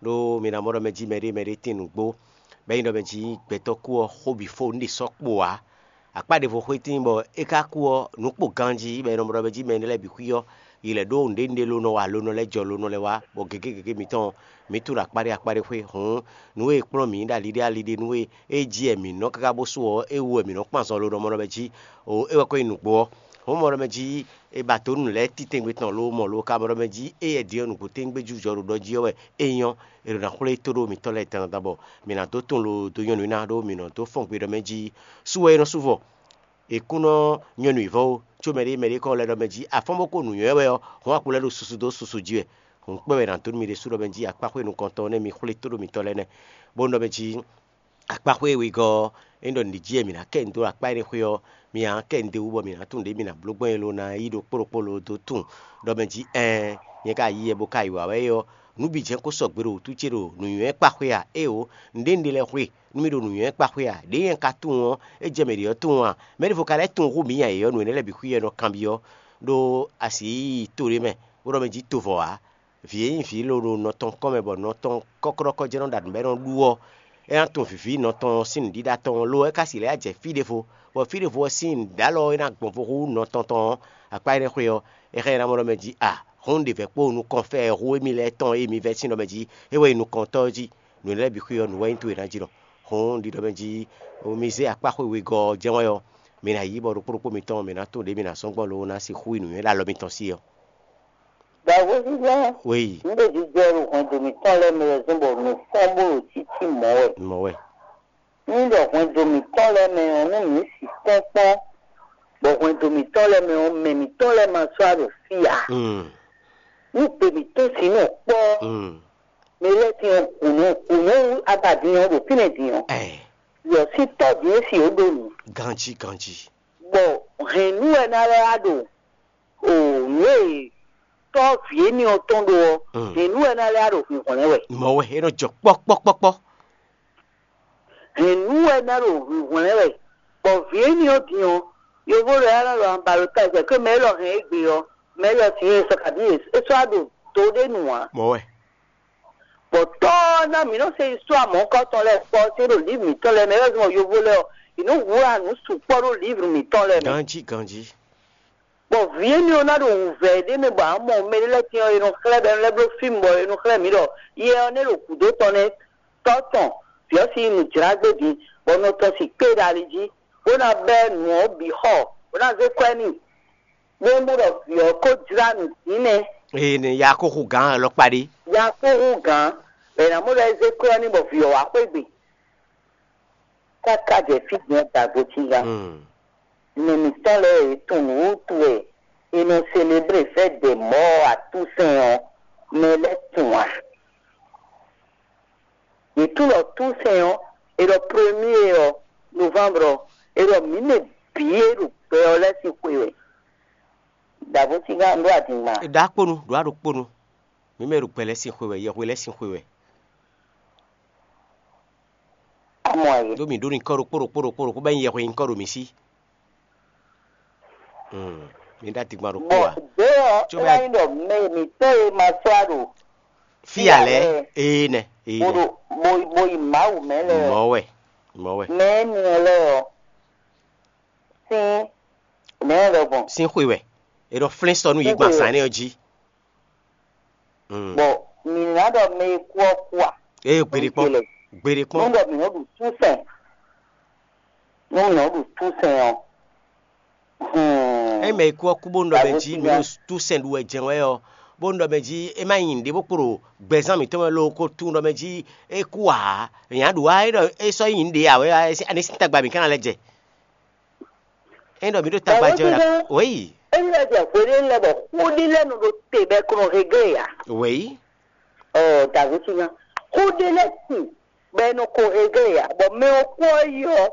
ɖó mi ná mɔ ɖɔ mɛ jí mɛɖé mɛɖé tín nǔgbó, bɔ é nyí ɖɔ mɛ jí gbɛtɔ́ kú ɔ́, xó bǐ fó nǔ ɖě sɔ́ kpo ǎ. Akpá ɖěvo xwé tíin bɔ é ka kú ɔ́, nǔ kpo ganjí, bɔ è nɔ ɖɔ mɛ jí mɛ énɛ́ lɛ́ɛ bǐ xwí ɔ́, yi lɛ̌ ɖó nǔɖé nǔɖé lónɔ wa, lónɔ lɛ́ɛ jɔ lónɔ lɛ́ɛ wá, bɔ gěgé gěgé mǐtɔn mǐ tunwun ɖo akpá ɖé akpá ɖé xwé. Hǔn nǔ e è kplɔ́n mǐ ɖo ali ɖé ali ɖé nú we, é jí wɛ mǐ nɔ káká bó sú ɔ́, é wú wɛ mǐ nɔ kpan zɔn lónɔ mɔ ɖɔ mɛ jí. O é wɛ ko nyí nǔgbó ɔ́. Hǔn mɔ ɖɔ mɛ jí è ba dǒ nǔ lɛ́ɛ titɛngbé tɔn ló mɔ ló ka mɔ ɖɔ mɛ jí éyɛ́ din ɔ́, nǔgbó tɛ́ngbé jújɔ ɖo ɖɔ jí ɔ́ wɛ é nyɔ́, è ɖo ná xwlé tó ɖó mǐtɔn lɛ́ɛ dandan bɔ mǐ ná dó tunwun lo dó nyɔ́ nǔ ná ɖó mǐ nɔ dó fɔ́n gbe ɖɔ mɛ jí. Sú wɛ é nɔ sú vɔ. È kún nɔ nyɔ́ nǔ yi vɔ́ ó, có mɛɖé mɛɖé kɔn lɛ́ ɖɔ mɛ jí afɔ́n bó ko nǔnywɛ́ wɛ ɔ́, hɔn akpo lɛ́ ɖo susu dó susu jí wɛ. Hǔn kpɛ́ wɛ è nǎ dó nú mi ɖésú ɖɔ mɛ jí akpáxwé nukɔntɔn nɛ́ mi xwlé tó ɖo mitɔn lɛ́ɛ nɛ́, bó nɔ mɛ jí akpáxwé e wegɔ́ ɔ́, é nɔ ɖi jí wɛ mǐ ná kɛ nǔ dó ɖo akpá énɛ́ xwé ɔ́, mi ǎ kɛ nǔɖé wú bɔ mǐ ná tunwun ɖě mǐ ná bló gbɔn é ló ná yí ɖokpó ɖokpó lo dó tunwun ɖɔ mɛ jí ɛɛn, nyɛ ka yi yɛ bo ka yi wǎ wɛ é ɔ́, nǔ bǐ jɛ́n kó sɔgbe ɖo wǔtú ce ɖo nǔnywɛ́ kpáxwé a? Éeǒ, nǔɖé nǔɖé lɛ́ɛ xwé nú mì ɖo nǔnywɛ́ kpáxwé a? Ɖěe nyɛ ka tunwun ɔ́, é jɛ mɛ ɖě ɔ́ tunwun a? Mɛ̌ ɖěvo ka lɛ́ tunwun hú mǐ nya yě ɔ́? Nǔ énɛ́ lɛ́ɛ bǐ xwí wɛ nɔ kanbyɔ́ ɖó asi yíyí to ɖé mɛ, bó ɖɔ mɛ jí tovɔ ǎ. Vǐ e nyí vǐ lǒ ɖo nɔ tɔn kɔn mɛ bɔ nɔ tɔn kɔ́klɔ́kɔ́ jɛ́n nɔ ɖo aɖǔ bɔ é nɔ ɖu ɔ́, é ná tunwun vǐví nɔ tɔn sín nǔɖiɖa tɔn lo ɔ́, é ka si lɛ́ jɛ fí ɖěvo, bɔ fí ɖěvo ɔ́ sín nǔɖalɔ ɔ́ é ná gbɔn vo hú nɔ tɔn tɔn ɔ́, akpá énɛ́ xwé ɔ́, é xlɛ́ ná mɔ ɖɔ mɛ jí a, hǔn ɖě vɛ̌ kpó nukɔn fɛ hú émí lɛ́ɛ tɔn e mi vɛ́ sín ɖɔ mɛ jí é wɛ nyí nukɔntɔ́ ɔ́ jí. Nǔ énɛ́ lɛ́ɛ bǐ xwé ɔ́, nǔ wɛ nyí towe ná jí nɔ. Hǔn un ɖi ɖɔ mɛ jí mi zé akpá xwé wegɔ́ ɔ́ jɛ́n wɛ ɔ́, mi ná yí bɔ ɖokpó ɖokpó mitɔn mǐ ná tunwun ɖě mǐ ná sɔ́ gbɔn lo ná sixú yi nǔnywɛ́ ɖo alɔ mitɔn sí ɔ́. Dǎgoví lɛ́ɛ, wéyi, nǔ ɖo jijɛ ɖo hwɛndo mǐtɔn lɛ́ɛ mɛ wɛ zɔ́n bɔ nǔ fɔ́n bó ɖo títí mɔ̌ wɛ. Mɔ̌ wɛ. Nú ɖɔ hwɛndo mǐtɔn lɛ́ɛ mɛ ɔ́, nú mǐ sixú kpɔ́n, bɔ hwɛndo mǐtɔn lɛ́ɛ mɛ ɔ́, mɛ mǐtɔn lɛ́ɛ ma sɔ́ wá ɖo fí ǎ. Mm. Nú gbe mǐtɔn sǐ nɔ kpɔ́, mm, mɛ lɛ́ɛ tín ɔ́, hǔnɔ hǔnɔ wú abadin ɔ́ ɖo fínɛ́ din ɔ́, ɛ, yɔ sín tɔ́ din é si ó ɖo nǔ. Ganjí, ganjí. Bɔ hɛ̌nnu wɛ ná lɛ́ wá ɖo o nǔ e tɔ́ vǐ énɛ́ ɔ́ tɔn ɖó ɔ́, mm, hɛ̌nnu wɛ ná lɛ́ wá ɖo hwǐnhwlɛ́n wɛ. Mɔ̌ wɛ é nɔ jɔ kpɔ́kpɔ́kpɔ́kpɔ́. Hɛ̌nnu wɛ ná ɖo hwǐnhwlɛ́n wɛ, bɔ vǐ énɛ́ ɔ́ din ɔ́, yovó lɛ́ɛ ná ɖo anba ɖo ta jɛ kó mɛ élɔ́ hɛn égbé ɔ́, mɛ élɔ́ sin e sɔ kabí é sɔ́ wá ɖo do ɖé nu ǎ. Mɔ̌ wɛ. Bɔ tɔ́ ɔ́ ná mǐ nɔ se yi sɔ́ amɔ̌kɔ́tɔn lɛ́ɛ kpɔ́ cé ɖo lǐvr mǐtɔn lɛ́ɛ mɛ, é wɛ zɔ́n bɔ yovó lɛ́ɛ ɔ́, yě nɔ wlá nǔ sukpɔ́ ɖó lǐvr mǐtɔn lɛ́ɛ mɛ. Ganjí, ganjí. Bɔ vǐ énɛ́ ɔ́ ná ɖo wǔvɛ́ ɖé mɛ bɔ a mɔ mɛ ɖé lɛ́ɛ tɛ́n ɔ́, è nɔ xlɛ́ bɔ è nɔ xlɛ́ mǐ ɖɔ yɛ ɔ́ nɛ́ ɖo gǔdo tɔn nɛ́, tɔ́ tɔn, vǐ ɔ́ sín nǔ jlá gbé din, bɔ nɔ tɔn sin kpé ɖo ali jí, bó ná bɛ́ nǔ ɔ́ bǐ xɔ, bó ná zé kɔ́ ɛ n'i. Bó mɔ ɖɔ vǐ ɔ́ ko jlá nǔ dín nɛ́. Ee, nɛ ya ko xo gǎn alɔkpa ɖé. Ya ko hú gǎn, bɔ è nǎ mɔ ɖɔ é zé kɔ́ ɛ n'i bɔ vǐ ɔ́ wá xwé gbe. Káká jɛ fí din ɔ́, dǎgbó cí gán. Hmm. Mɛ mǐtɔn lɛ́ɛ e tunwun nǔ wútu wɛ è nɔ seleblé fɛ́ ɖɛ mɔ̌ atúnsɛn ɔ́, mɛ lɛ́ɛ tunwun a? Yě tunwun ɖɔ túnsɛn ɔ́, è ɖɔ premier ɔ́, novembre ɔ́, è ɖɔ mǐ mɛ bǐ e ɖo gbɛ ɔ́ lɛ́ɛ sín xwe wɛ. Dǎgbó cí gán, un ɖó adǐngban. È ɖǎ kponu, ɖǒ aɖokponu. Mǐ mɛ ɖo gbɛ lɛ́ɛ sín xwe wɛ, yɛhwe lɛ́ɛ sín xwe wɛ. Amɔ ayé. Ɖó mǐ ɖó nyǐkɔ ɖokpó ɖokpó ɖokpó ɖokpó bɔ é nyí yɛhwe nyǐkɔ ɖo mǐ sí. Hmm, mi ɖó adigban ɖokpó Bɔ ǎ. Ɖé ɔ́, Tso é bɛ- ná nyí ɖɔ mɛ mǐtɔn e ma sɔ́ a ɖo Fí ǎ lɛ́ɛ, ee nɛ, ee bo nɛ. Ɖo bo bo yi Mawu mɛ lɛ ɔ́, Mɔ̌ wɛ, mɔ̌ wɛ. Mɛ énɛ́ lɛ ɔ́, sín nɛ̌ lɛ gbɔn? Sín xwe wɛ. È nɔ flɛ́n sɔ nú yě Sín gban xwe wɛ. Sán énɛ́ ɔ́ jí. Hmm. Bɔ mǐ ná ɖɔ mɛ e kú ɔ́ kú a? Ee, gbeɖé kpɔ́n. Gbeɖé kpɔ́n. Nú ɖɔ mǐ nɔ ɖu túnsɛn, nú mǐ nɔ ɖu túnsɛn ɔ́, hmm. Ényí mɛ e kú ɔ́ kú bónú ɖɔ mɛ jí mǐ ɖo túnsɛn ɖu wɛ jɛ́n wɛ ɔ́, bónú ɖɔ mɛ jí é má nyí nǔɖé bó kpo ɖo gbɛzán mǐtɔn mɛ lo ko tunwun ɖɔ mɛ jí é kú ǎ, nya ɖu wá é ɖɔ é sɔ́ nyí nǔɖé ǎ wɛ, ani sín tagba mǐ ka ná lɛ́ jɛ. Ényí ɖɔ mǐ ɖo tagba jɛ wɛ ɖa. Wěyi. Ényí lɛ́ jɛ hweɖé lɛ́ɛ bɔ xóɖí lɛ́ɛ nɔ ɖo te bɔ è ko nɔ hegé ǎ. Wěyi. Ɔ, dǎgbécinya. Xóɖé lɛ́ɛ sin bɔ è nɔ ko hegé ǎ, bɔ mɛ ɔ́ kú ɔ́ yi ɔ́,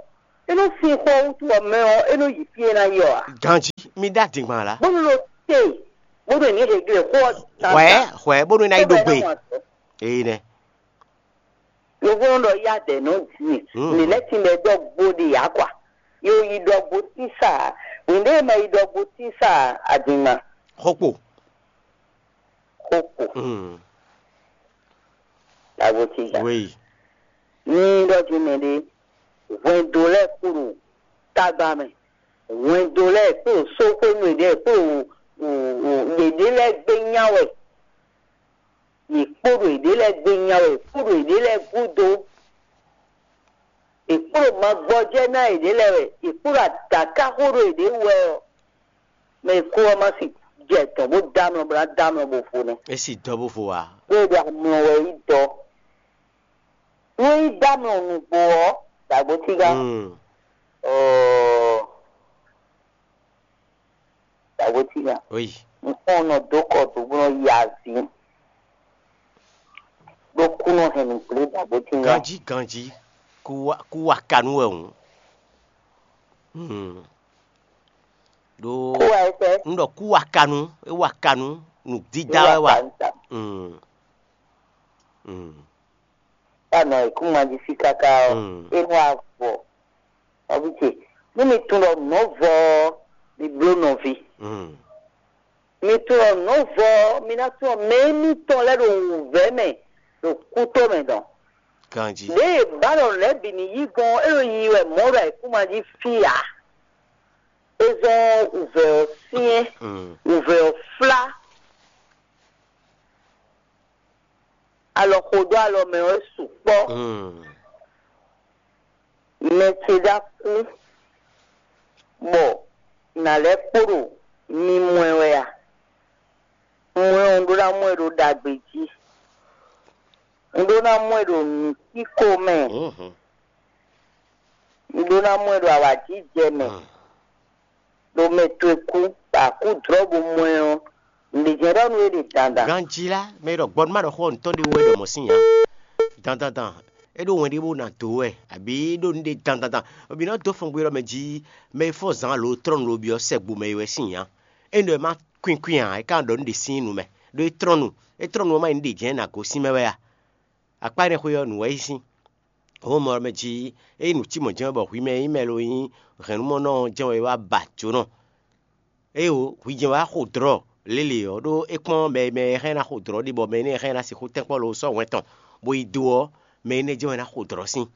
é nɔ sín xó ɔ́ wútu ɔ́, mɛ ɔ́, é nɔ yi fí e ná yi ɔ́ ǎ. Ganjí, mi ɖó adǐngban lá. Bónú ɖo te, bónú è nǐ hegé xó ɔ́. Hwɛ, hwɛ, bónú é ná yi ɖó gbe. Éyi nɛ. Yovó nɔ ɖɔ yá dɛ nɔ din. Mǐ lɛ́ tin bɛ dɔ gbo ɖe yǎ kwa. Yo yi ɖɔ gbo tísa. Wěndé ma yi ɖɔ gbo tísa adingma. Xokpo. Xokpo. Agbo tísa. Oui. Ní ɖɔ jí mɛ ɖé. Hwɛndo lɛ́ɛ kpo ɖo tagba mɛ. Hwɛndo lɛ́ɛ kpo ɖo sóxwénu ɖě kpo ɖo yěɖée lɛ́ɛ gbé nya wɛ. Yě kpo ɖo yěɖée lɛ́ɛ gbe nya wɛ, yě kpo ɖo yěɖée lɛ́ɛ gúdo, yě kpo ɖo magbɔjɛ́ ná yěɖée lɛ́ɛ wɛ, yě kpo ɖo adǎkáxó ɖo yěɖée wú wɛ ɔ́, mɛ e kó ɔ́ má si jɛ dɔ̌n bó dó amlɔ bó ná dó amlɔ bó vo nɛ́. É si dɔ́ bó vo ǎ. Bó e ɖo amlɔ wɛ yí dɔ́. Nú é yí dó amlɔ nǔgbó ɔ́, dǎgbó tígá. Mm. Ɔɔ. Dǎgbótínya. Oui. Nukɔn nɔ dó kɔ dó bó nɔ yi azǐ. Ɖó kú nɔ hɛn nǔgblé dǎgbótínya. Ganjí ganjí. Kú wá kú wá kanú wɛ hǔn. Hmm. Ɖó Kú wá ẹsẹ̀. N ɖɔ kú wá kanú, é wá kanú, nǔdídá wɛ wá. Kanu ta. Hmm. Hmm. Tá nɔ ikúnmají sí káká ɔ́, Mm. É nú avɔ. Nɔví ce, nú mi tunwun ɖɔ nǔ nɔ vɔ ɔ́, mi bló nɔví. Mm. Mi tunwun ɖɔ nǔ nɔ vɔ ɔ́, mi ná tunwun mɛ émítɔn lɛ́ɛ ɖo wǔvɛ́ mɛ ɖo kútó mɛ dɔn. Ganjí. Ɖěe è ba ɖɔ nǔ lɛ́ɛ bǐ ní yí gbɔn ɔ́, é ɖo yiyi wɛ mɔ̌ ɖo ayǐkúngban jí fí ǎ. É zɔ́n wǔvɛ́ ɔ́ syɛ́n, Mm. Wǔvɛ́ ɔ́ flá. Alɔ xo dó alɔ mɛ ɔ́ sukpɔ́. Mm. Mɛ ce ɖó akú, bɔ nǎ lɛ́ kpo ɖo mi mɔ ɛ wɛ a? Un mɔ ɛ ɔ́, un ɖó ná mɔ ɛ ɖo ɖagbe jí. Un ɖó ná mɔ ɛ ɖo nǔkíko mɛ. Mhm. Un ɖó ná mɔ ɛ ɖo awǎjijɛ mɛ. Mm. Ɖo mɛ towe kú, bɔ a kú dlɔ̌ bó mɔ ɛ ɔ́, nǔɖé jɛ́n ɖɔ nú we ɖe dandan. Ganjí lá, mɛ e ɖɔ gbɔn má ɖɔ xó ɔ́, nǔtɔn ɖé wú wɛ ɖɔ mɔ̌ sín nya. Dandandan, é ɖó wɛn ɖé bó ná dǒ wɛ, abǐ é ɖó nǔɖé dandandan. Bɔ mǐ nɔ dó fɔngbe ɖɔ mɛ jí mɛ e fɔ́n zǎn alo trɔ́nu lo byɔ́ sɛgbo mɛ e wɛ sín nya. É nɔ e má kwínkwín ǎ, é ka ɖɔ nǔɖé sín nu mɛ. Ɖó é trɔ́nu, é trɔ́nu ɔ́ má nyí nǔɖé jɛ́n ná gosín mɛ wɛ a? Akpá énɛ́ xwé ɔ́, nǔ wɛ yí sín. Hǒnmɔ mɛ jí é nyí nǔ cí mɔ̌ jɛ́n wɛ bɔ hwi mɛ e nyí mɛ lo nyí hɛ̌nnumɔnɔ ɔ́ jɛ́n wɛ é wá ba jǒnɔ. Éeǒ, hwi jɛ́n wá xo dlɔ̌ lélě ɔ́, ɖó é kpɔ́n mɛ e mɛ e hɛn ná xo dlɔ̌ ɖe bɔ mɛ énɛ́ hɛn ná sixú tɛ́nkpɔ́n lo sɔ́ hwɛn tɔn, bó yi do ɔ́, mɛ énɛ́ jɛ́n wɛ ná xo dlɔ̌ sín.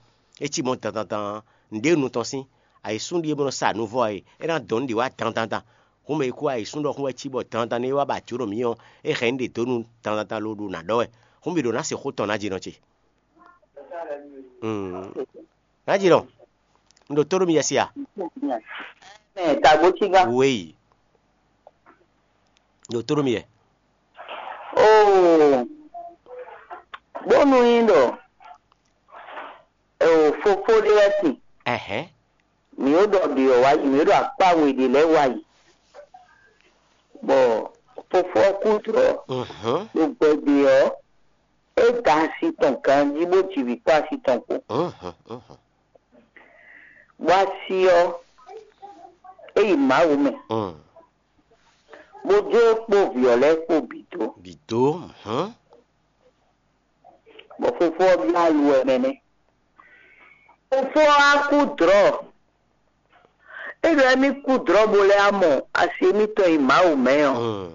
É cí mɔ̌ dandandan nǔɖé nu tɔn sín. Ayǐsúnɖí e bó nɔ sa nǔ vɔ ɔ́, é ná dɔn nǔ ɖě wá dandandan. Hǔn mɛ e kú ayǐsúnɖɔxún wɛ cí bɔ dandan nú é wá ba jǒ nɔ mǐ ɔ́, é hɛn nǔ ɖě dó nú dandan lo ɖo nǎ ɖɔ wɛ. Hǔn mǐ ɖo ná se xó tɔn ná jínɔ ce. Ná jínɔ, un ɖo tó ɖó mi yɛ se a? Mɛ tagbo cígán. Wéyi, un ɖo tó ɖó mi yɛ. Oo, bónú nyí ɖɔ fofó ɖé lɛ́ɛ sin, Ɛhɛn. Mǐ ɖo ɖɔ ɖě ɔ́ wá yi, mǐ ɖo akpá we ɖě lɛ́ɛ wá yi, bɔ fofó ɔ́ kú tlɔ́. Mhm. Ɖo gbɛgbɛ ɔ́, é da asi tɔn ganjí bó ji vǐ kpó asi tɔn kpó, Mhm. Mhm. Bɔ asi ɔ́, é yi Mawu mɛ, Mm. Bó jó é kpó vǐ ɔ́ lɛ́ɛ kpó bǐ dó. Bǐ dó. Mhm. Bɔ fofó ɔ́ byɔ́ aluwɛ mɛ nɛ́. Fofó ɔ́ wá kú dlɔ̌. É ɖɔ émí kú dlɔ̌ bó lɛ́ wá mɔ asi émítɔn e Mawu mɛ ɔ́,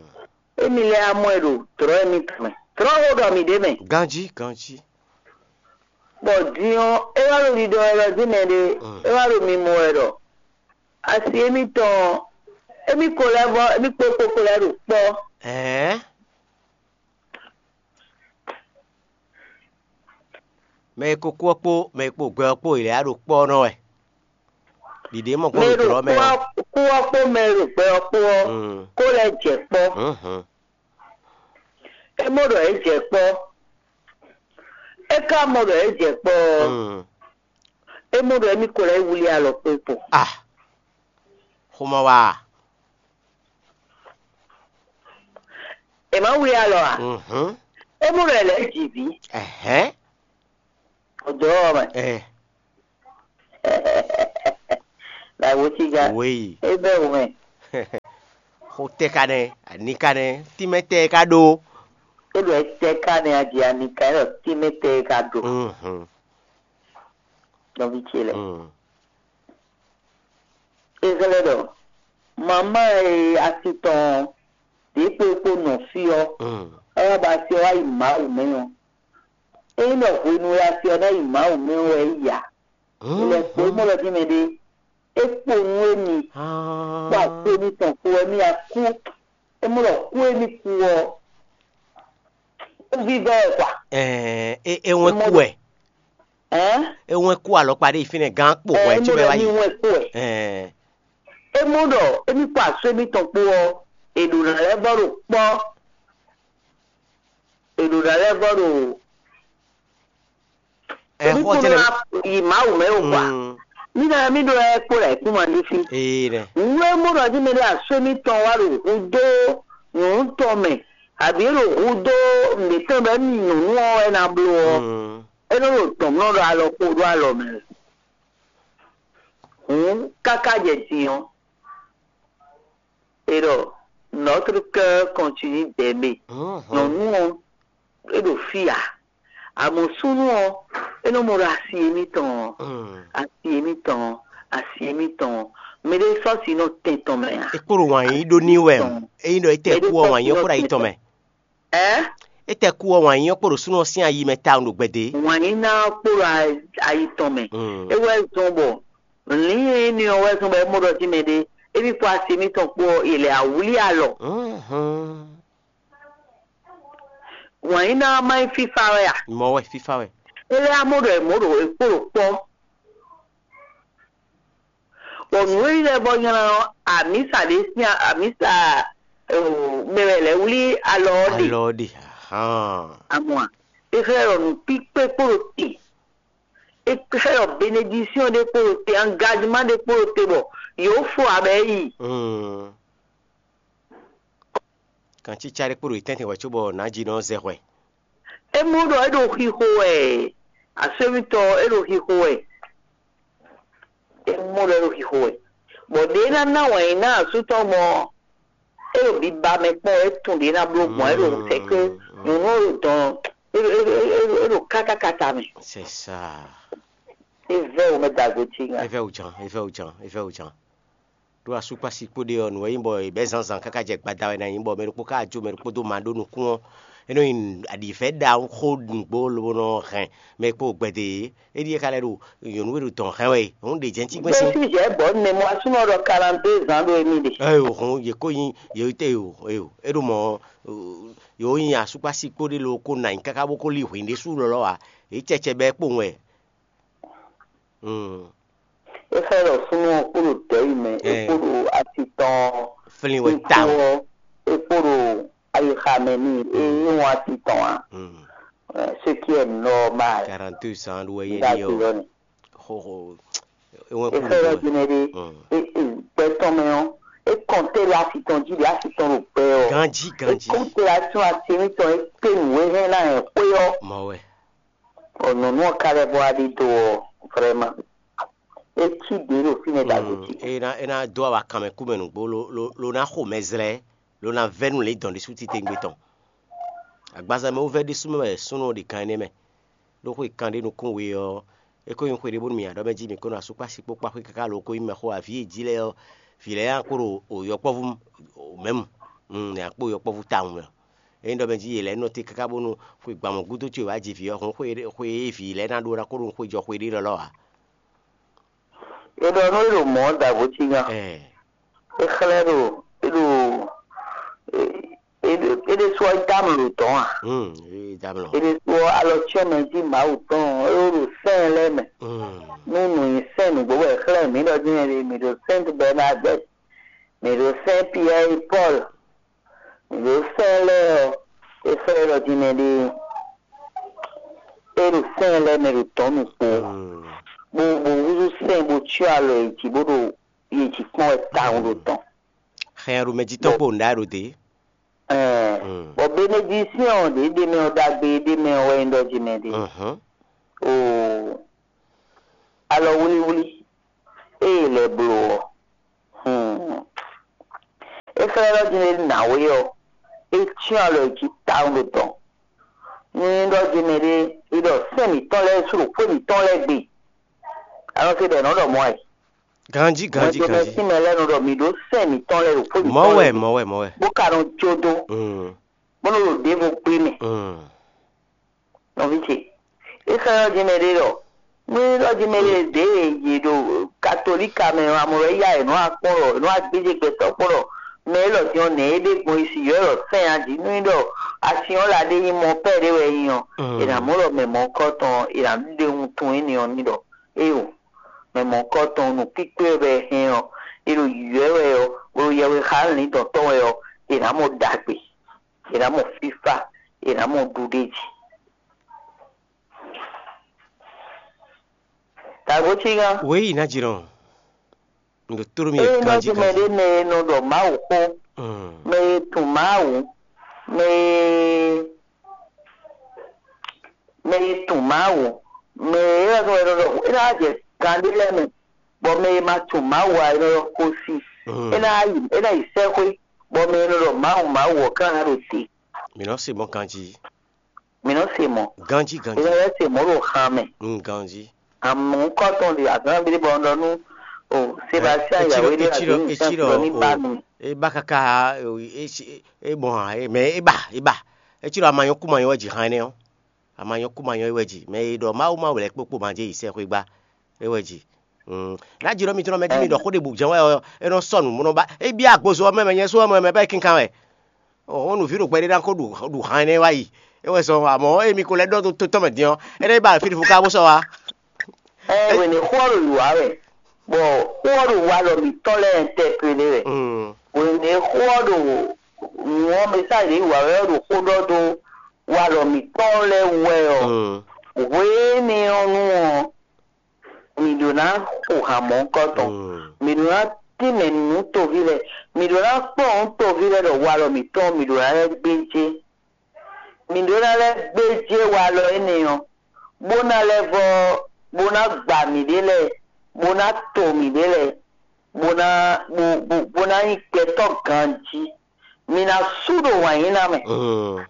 émí lɛ́ wá mɔ ɛ ɖo dlɔ̌ émítɔn mɛ. Dlɔ̌ xó ɖɔ mǐ ɖ'é mɛ. Ganjí, ganjí. Bɔ din ɔ́, é wá ɖo ɖiɖɔ wɛ ɖɔ dín mɛ ɖé, é wá ɖo mimɔ wɛ ɖɔ asi émítɔn ɔ́, émí ko lɛ́ vɔ́, émí kpó kpó ko lɛ́ ɖo kpɔ́. Ɛ̌ɛn. Mɛ e ko kú ɔ́ kpó mɛ e kpo gbɛ ɔ́ kpó yě lɛ́ɛ ɖo kpɔ́ ɔ́ nɔ wɛ. Ɖiɖě mɔ kpɔ́n ɖo dlɔ̌ mɛ ɔ́. Kú ɔ́ kpó mɛ e ɖo gbɛ ɔ́ kpó ɔ́, kó lɛ́ jɛ kpɔ́. É mɔ ɖɔ é jɛ kpɔ́. É ka mɔ ɖɔ é jɛ kpɔ́ ɔ́, é mɔ ɖɔ émí ko lɛ́ wlí alɔ kpé kpo. Ah, xomɔ wa. È ma wlí alɔ a? É mɔ ɖɔ è lɛ́ ji vǐ. Ɛhɛn. Ọ̀dọ́ ọmọ. Ɛ. Làwòtíga. Wéyi. Ebe wumɛ. Xo tɛ ka nɛ, ani ka nɛ, tínmɛ tɛ ka ɖó. Ó ɖɔ tɛ ka nɛ, adi ani ka nɛ, tínmɛ tɛ ka ɖó. Mhm. Nɔví ce lɛ. Mm. Ezɛlɛ ɖɔ, mamá e asi tɔn ɔ́, ɖě kpo kpo nɔ fí ɔ́, Mm. É wá ba asi ɔ́ wá yi Mawu mɛ ɔ́. Ényí ɖɔ hwenu e asi ɔ́ ná yi Mawu mɛ ɔ́ wɛ é yi a? Lɛ kpo é mɔ lɔ dín mɛ ɖé. É kpo nú émi, kpó akpó mitɔn kpó wɛ mì a kú. É mɔ ɖɔ kú émi kú ɔ́, kú vívɛ́ wɛ kwa. Ɛɛ, é é wɛn kú wɛ. Ɛn? É wɛn kú alɔkpa ɖé yi fínɛ́ gán kpo hwɛ cí bɛ wá yi. Émi wɛn kú wɛ. Ɛɛ. É mɔ ɖɔ émi kpó asú émítɔn kpó ɔ́, è ɖǒ ná lɛ́ vɔ́ ɖo kpɔ́. È ɖǒ ná lɛ́ vɔ́ ɖo Ɛ xɔ tɛnɛ. Yi Mawu mɛ o kwa. Mm. Mí ná mí ɖó ɛ kpó lɛ kú ma ɖé fí. Ee ɖɛ. Nǔ e mɔ ɖɔ jí mɛ ɖé asú émítɔn wá ɖo hudó nyɔ̌nu tɔn mɛ, abǐ é ɖo hudó nǔɖé tɔn bɔ émí nyɔ̌nu ɔ́ wɛ ná bló ɔ́, Mm. É nɔ ɖo dɔ̌n mlɔ́ ɖo alɔ kpo ɖó alɔ mɛ. Hǔn káká jɛ din ɔ́, é ɖɔ, notre cœur continue d'aimer. Mhm. Nyɔ̌nu ɔ́, é ɖo fí ǎ. Amɔ̌ súnnu ɔ́, é nɔ mɔ ɖɔ asi émítɔn ɔ́, Mm. Asi émítɔn ɔ́, asi émítɔn ɔ́, mɛɖé sɔ́ si nɔ tɛn tɔn mɛ ǎ. É kpo ɖo wǎn yí ɖó ní wɛ. Ényí ɖɔ é tɛ kú ɔ́, wǎn yí ɔ́ kpo ɖo ayi tɔn mɛ. Ɛ? É tɛ kú ɔ́, wǎn yí ɔ́ kpo ɖo súnnu ɔ́ sín ayi mɛ tawun ɖo gbɛdě. Wǎn yí ná kpo ɖo a- ayi tɔn mɛ. Mm. É wɛ zɔn bɔ lǐn énɛ́ ɔ́ wɛ zɔn bɔ é mɔ ɖɔ jí mɛɖé, émí kpó asi émítɔn kpó ɔ́, è lɛ awlí alɔ. Mhm. Wǎn yí ná má nyí fífá wɛ a? Mɔ wɛ fífá wɛ. É lɛ́ amɔ ɖɔ è mɔ̌ ɖo è kpo ɖo kpɔ́. Bɔ nǔ e lɛ́ vɔ nylá ɔ́, amǐsa ɖé sín amǐsa mɛ wɛ lɛ́ wlí alɔ ɔ́ ɖe. Alɔ ɔ́ ɖe. Ahan. Amɔ a? É xlɛ́ ɖɔ nǔkpíkpé kpo ɖo te. É xlɛ́ ɖɔ benedisyɔn ɖé kpo ɖo te, angajima ɖé kpo ɖo te bɔ yǒ fo abɛ yi. Mm. Kancícá ɖé kpo ɖo yi tɛ́ntin hwɛ̌ cóbɔ nǎjínɔ ɔ́ zɛ hwɛ. É mɔ ɖɔ é ɖo xixo wɛ, aswémítɔn é ɖo xixo wɛ. É mɔ ɖɔ é ɖo xixo wɛ. Bɔ ɖě ná ná wǎn yí ná asú tɔn gbɔn é ɖo biba mɛ kpɔ́n, é tunwun ɖě ná bló gbɔn, é ɖo sɛkɛ́ nyɔ̌nu é ɖo dɔn, é ɖo é ɖo é ɖo é ɖo kákákáta mɛ. C'est ça. É vɛ́ wǒ mɛ dagbo cí nya. É vɛ́ wǔ jan, é vɛ́ wǔ jan, é vɛ́ wǔ jan. Ɖó asúkpási kpó ɖe ɔ́, nǔ e nyí bɔ è bɛ́ zǎnzǎn káká jɛ gbada wɛ ná nyí bɔ mɛ ɖokpó ká jó mɛ ɖokpó dó ma ɖó nukún ɔ́, É nɔ nyi aɖǐvɛ́ ɖaxó nǔgbó lobo nɔ hɛn mɛ kpó gbɛdɛ é. É ɖíe ka lɛ́ ɖo nyɔ̌nu e ɖo dɔ̌n hɛn wɛ é. Hǔn ɖě jɛ́n cí gbɛ́n sín. Jésù jɛ bɔ ne mo asunɔ ɖɔ quarante deux ans ɖo émí ɖe. Eyo, hǔn yě kó nyí yě te yo eyo. É ɖo mɔ̌ yǒ nyi asúkpási kpó ɖé lo kó nǎ nyi káká bó kó lí hwǐn ɖésú lɔlɔ́ ǎ. Yě cɛcɛ bɛ́ kpowun wɛ. Mm. É xlɛ́ ɖɔ súnnu ɔ́ kpo ɖo dɛ̌ yi mɛ, é kpo ɖo asi tɔn ɔ́, Flín wɛ tawun. É kpo ɖo ayixa mɛ n'i, é é wɔn asi tɔn ǎ. Mm. Ce qui est normal. Quarante-deux ans ɖo wɛ yé ɖi ɔ́. Xɔxɔ. É wɛn kú ɖo. É xlɛ́ ɖɔ jínɛ ɖé, é é gbɛ tɔn mɛ ɔ́, é kɔn tɛ́ ɖo asi tɔn jí ɖe asi tɔn ɖo gbɛ ɔ́. Ganjí, é ganjí. Kɔn tɛ́ ɖo asi tɔn asi mitɔn é kpé nǔ e hɛn ná hɛn xwé ɔ́. Mɔ wɛ. Ɔ nyɔ̌nu ɔ́ ka lɛ́ vɔ wá ɖidó ɔ́, vrɛ́ma, é cí ɖě ɖo fínɛ́ ɖagbe cí. É ná é ná dó awa kanmɛ kú mɛ nǔgbó lo lo lo ná xo mɛ zlɛ́, lo ná vɛ́ nú lě dɔn ɖésú titewungbe tɔn. Agbaza mɛ wú vɛ́ ɖésú mɛ wɛ súnnu ɔ́ ɖe kan énɛ́ mɛ. Ɖó xwe kan ɖé nukún we ɔ́, é ko nyí xwe ɖé bónú mì nyi aɖɔ́ mɛ jí mǐ ko nɔ asúkpási kpó kpá xwé káká lo ko nyí mɛxó ǎ. Vǐ e jí lɛ́ɛ ɔ́, vǐ lɛ́ɛ nya kpo ɖo yɔkpɔ́vú mɛmu, nya kpo yɔkpɔ́vú tawun mɛ. Ényí ɖɔ mɛ jí yě lɛ́ɛ nɔ te káká bónú xwe gbǎn mɔ̌ gúdo ce wǎ ji vǐ ɔ́, hǔn xwe xwe e vǐ lɛ́ɛ ná ɖó ná ko ɖo xwe jɔ xwe ɖé lɔlɔ́ ǎ. È ɖɔ nú é ɖo mɔ̌ ɔ́ da vo cí nya. Ɛ É xlɛ́ ɖo é ɖo é ɖésú ɔ́ dó amlǒ tɔn a? Hmm, é dó amlǒ. É ɖésú ɔ́ alɔ cyɔ́n mɛ jí Mawu tɔn ɔ́, é ɖo sɛ́n lɛ́ɛ mɛ. Hmm. Nú nǔ nyi sɛ́n nǔgbó wɛ è xlɛ́ mǐ ɖɔ jɛ́n mǐ ɖo Sainte Bernadette, mǐ ɖo Saint Pierre et Paul, mǐ ɖo sɛ́n lɛ́ɛ ɔ́, é xlɛ́ ɖɔ jɛ́n mɛ ɖé é ɖo sɛ́n lɛ́ɛ mɛ ɖo tɔ̌n nukpo. Hmm. Bó bó húzú sɛ́n bó cyɔ́ alɔ yě jí bó ɖo yě jí kpɔ́n wɛ tawun ɖo tɔn. Xɛn ɖo mɛ jí tɔn kpo nǔɖá ɖo dě. Ɛɛ, bɔ benedisíɔn ɖě ɖ'é mɛ ɔ́ ɖagbe ɖ'é mɛ ɔ́ wɛ nyí ɖɔ jí mɛ ɖe. Mhm. Oo, alɔ wlíwlí ée lɛ́ bló ɔ́, hmm, é xlɛ́ ɖɔ jí nǎwe ɔ́, é cyɔ́n alɔ jí tawun ɖo tɔn. Nú nyí ɖɔ jí mɛ ɖé é ɖɔ sɛ́n mǐtɔn lɛ́ɛ sú ɖo xwé mǐtɔn lɛ́ɛ gbe. A nɔ se ɖɔ è nɔ ɖɔ mɔ̌ wɛ. Ganjí, ganjí, ganjí. Mɛ lɛ́ɛ nɔ ɖɔ mǐ ɖó sɛ́n mǐtɔn lɛ́ɛ ɖo xwé mǐtɔn lɛ́ɛ gbe. Mɔ̌ wɛ, mɔ̌ wɛ, mɔ̌ wɛ. Bó ka nɔ jó dó. Mm. Bó nɔ ɖo ɖěvo gbé mɛ. Mm. Nɔví ce, é xlɛ́ ɖɔ jí mɛ ɖé ɖɔ nú é ɖɔ jí mɛ ɖé ɖě yě ɖo katolíka mɛ ɔ́, amɔ wɛ yá è nɔ wá kpɔ́n ɖɔ è nɔ wá gbéjé gbɛtɔ́ kpɔ́n ɖɔ mɛ élɔ́ din ɔ́, nɛ̌ é ɖe gbɔn é si yɔ̌ ɖɔ sɛ́n a jí nú é ɖɔ asin ɔ́ la ɖé nyí mɔ pɛ́ ɖé wɛ é nyí ɔ́, è nǎ mɔ ɖɔ mɛ mɔ̌hunkɔtɔn è nǎ ɖe wuntun énɛ́ ɔ́ n'i ɖɔ éeǒ, mɛ mɔ̌hunkɔtɔn nǔkpíkpé wɛ hɛn ɔ́, è ɖo yǐyɔ́ ɛ wɛ ɔ́, bó ɖo yɛhwe xá lǐndɔ̌n tɔn wɛ ɔ́, è nǎ mɔ ɖagbe, è nǎ mɔ fífá, è nǎ mɔ ɖuɖéji. Tǎgbó cí gán. Wěyi ná jlɔ́n. Un ɖo tló mì Ényí ganjí nɔ́ ɖi mɛ ganjí. Ɖé mɛ e nɔ ɖɔ Mawu xó, Mm. mɛ e tunwun Mawu, mɛ e mɛ e tunwun Mawu, mɛ e é wɛ nɔ ɖɔ é ná jɛ gan ɖé lɛ́ɛ mɛ, bɔ mɛ e ma tunwun Mawu ǎ é nɔ ɖɔ xósi. Mm. É ná yi é ná yi sɛ́xwé, bɔ mɛ e nɔ ɖɔ Mawu Mawu ɔ́ ká ná ɖo te. Mǐ nɔ se mɔ̌ ganjí. Mǐ nɔ se mɔ̌. Ganjí, ganjí. Mǐ nɔ lɛ́ se mɔ̌ ɖo han mɛ. Mm, ganjí. Amɔ̌ kɔ́tɔn ɖe azǎn ví ɖé bɔ un ɖɔ nú o Sebastien Yahweh ɖé ati ní sɛn ɖɔ ní ba mi. E ba kaka e e e mɔ hàn e mɛ e ba e ba. Etsi ɖɔ amanyɔ kú manyɔ wɛ dzi hàn ɛnɛ ɔ. Amanyɔ kú manyɔ wɛ dzi mɛ e ɖɔ Mawu Mawu lɛ kpokpo ma dze yi sɛ xwegba e wɛ dzi. Mm. Ná dzi ɖɔ mitɔn mɛ dzi mi ɖɔ xó ɖe bu jɛn wɛ ɔ e nɔ sɔ nǔ mɔ nɔ ba e bia agbozo ɔ mɛ mɛ nyɛ so ɔ mɛ mɛ bɛ kinkan wɛ. Ɔ́ nǔví ɖo gbɛɖé ná kó ɖu ɖu han énɛ́ wá yi. É wɛ zɔn amɔ̌ émi ko lɛ́ ɖɔ dó tó tɔn mɛ din ɔ́, énɛ́ ba fí ɖo fó ká bó sɔ́ wá. Ɛ wěne xó ɔ́ ɖo wǔ wá wɛ, bɔ xó ɔ́ ɖo walɔ mǐtɔn lɛ́ɛ ɛntɛpele wɛ. Mm. Wěne xó ɔ́ ɖo nǔ ɔ́ mɛ sá yě wǎ wɛ ɔ́ ɖo xó ɖɔ dó walɔ mǐtɔn lɛ́ɛ wú wɛ ɔ́. Mm. Hwéénɛ́ ɔ́ nu ɔ́, mǐ ɖó ná xo han mɔ̌hunkɔtɔn. Mm. Mǐ ɖó ná tínmɛ nǔ toví lɛ́ɛ. Mǐ ɖó ná kplɔ́n nǔ toví lɛ́ɛ ɖɔ walɔ mǐtɔn mǐ ɖó ná lɛ́ gbéjé. Mǐ ɖó ná lɛ́ gbéjé walɔ énɛ́ ɔ́, bó ná lɛ́ vɔ́, bó ná gba mǐɖée lɛ́ɛ, bó ná to mǐɖée lɛ́ɛ, bó ná bó bó bó ná nyí gbɛtɔ́ ganjí. Mǐ ná sú ɖo wǎnyíná mɛ. Mm.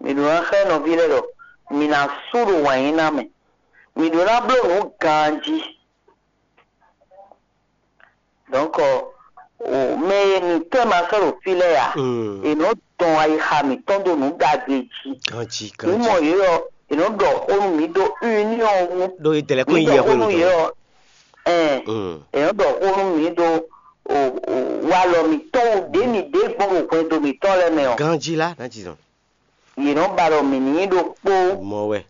Mǐ ɖó ná xlɛ́ nɔví lɛ́ɛ ɖɔ mǐ ná sú ɖo wǎnyíná mɛ. Mǐ ɖó ná bló nǔ ganjí. Donc, O, mɛ e mǐtɔn e ma sɔ́ ɖo fí lɛ́ɛ a? Mm. È nɔ dɔn ayixa mǐtɔn ɖo nǔ ɖagbe jí. Ganjí, mǐ mɔ ganjí. Yě ɔ́, è nɔ ɖɔ xó nú mǐ ɖo union wú. Ɖó é dɛlɛ kó Mǐ nyí ɖɔ yɛ xó xó nú nú yě tɔn. Ɔ́, ɛn, Mm. È nɔ ɖɔ xó nú mǐ ɖo o, o, walɔ mǐtɔn wú ɖě mǐ ɖe gbɔn ɖo hwɛndo mǐtɔn lɛ́ɛ mɛ ɔ́. Ganjí lá, ná jǐ zɔn. Yě nɔ ba ɖɔ mǐ ní nyí ɖokpó. Mɔ wɛ.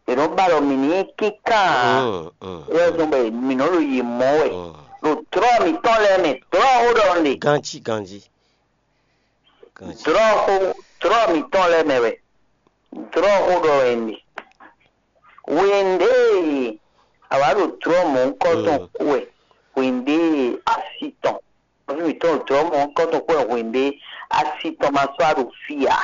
Yě nɔ ba ɖɔ mǐ ní nyí kínkán ǎ. Mm, mm, Wɛ zɔn bɔ mǐ nɔ ɖo yě mɔ wɛ. Mm. Ɖo dlɔ́ mǐtɔn lɛ́ɛ mɛ, dlɔ́ xó ɖɔ un ɖe. Ganjí, ganjí. Ganjí. Dlɔ́ xó, dlɔ́ mǐtɔn lɛ́ɛ mɛ wɛ. Dlɔ́ xó ɖɔ wɛ un ɖe. Hwěndé e a wǎ ɖo dlɔ́ mɔ̌hunkɔtɔn Mm. kú wɛ, hwěndé e asi tɔn. Nɔví mǐtɔn ɖo dlɔ́ mɔ̌hunkɔtɔn kú wɛ, hwěndé asi tɔn ma sɔ́ wá ɖo fí ǎ.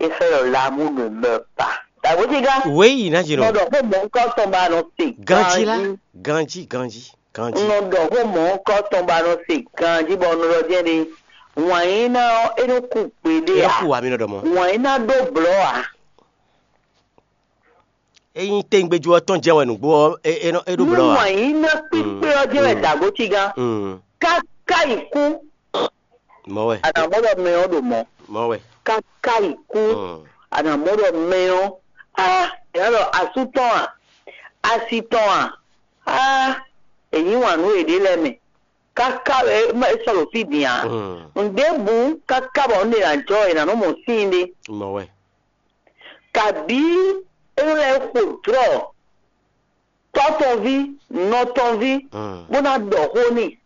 É xlɛ́ ɖɔ l'amour ne meurt pas. Dǎgbójígán, Oui, ná jɛ nɔ nɔ. Ɖɔ xó mɔ̌hunkɔtɔn ba nɔ se Ganjí lá, ganjí. Ganjí, ganjí, ganjí. Un nɔ ɖɔ xó mɔ̌hunkɔtɔn ba nɔ se ganjí bɔ un nɔ ɖɔ jɛ́n ɖe. Wǎn yíná ɔ́, é nɔ kú gbeɖé Ɛ ǎ. Kú wa mi nɔ ɖɔ mɔ. Wǎn yíná ɖó blɔ̌ ǎ. Ényí téŋgbéjú ɔ́ tɔn jɛ́n wɛ nǔgbó ɔ́, é é nɔ é ɖó Nú blɔ̌ ǎ. Wǎn yíná kpíkpé ɔ́ jɛ́n wɛ Mm. Dǎgbójígán. Mm. Káká yi kú. Mɔ̌ wɛ. A nǎ mɔ ɖɔ mɛ ɔ́ ɖo mɔ̌. Mɔ̌ wɛ. Káká yi kú. Mm. A nǎ mɔ ɖɔ mɛ ɔ́, á, è nǎ ɖɔ asú tɔn a, asi tɔn a, á, è yí wǎn nú yěɖée lɛ́ɛ mɛ. Káká wɛ é sɔ́ ɖo fí din ǎ. Mm. Nǔɖébǔ káká bɔ un ɖe ná jɔ è nǎ nɔ mɔ síin ɖé. Mɔ̌ wɛ. Kabǐ é nɔ lɛ́ xo dlɔ̌ tɔ́ tɔn ví, nɔ tɔn ví, Mm. bó ná ɖɔ xó n'i.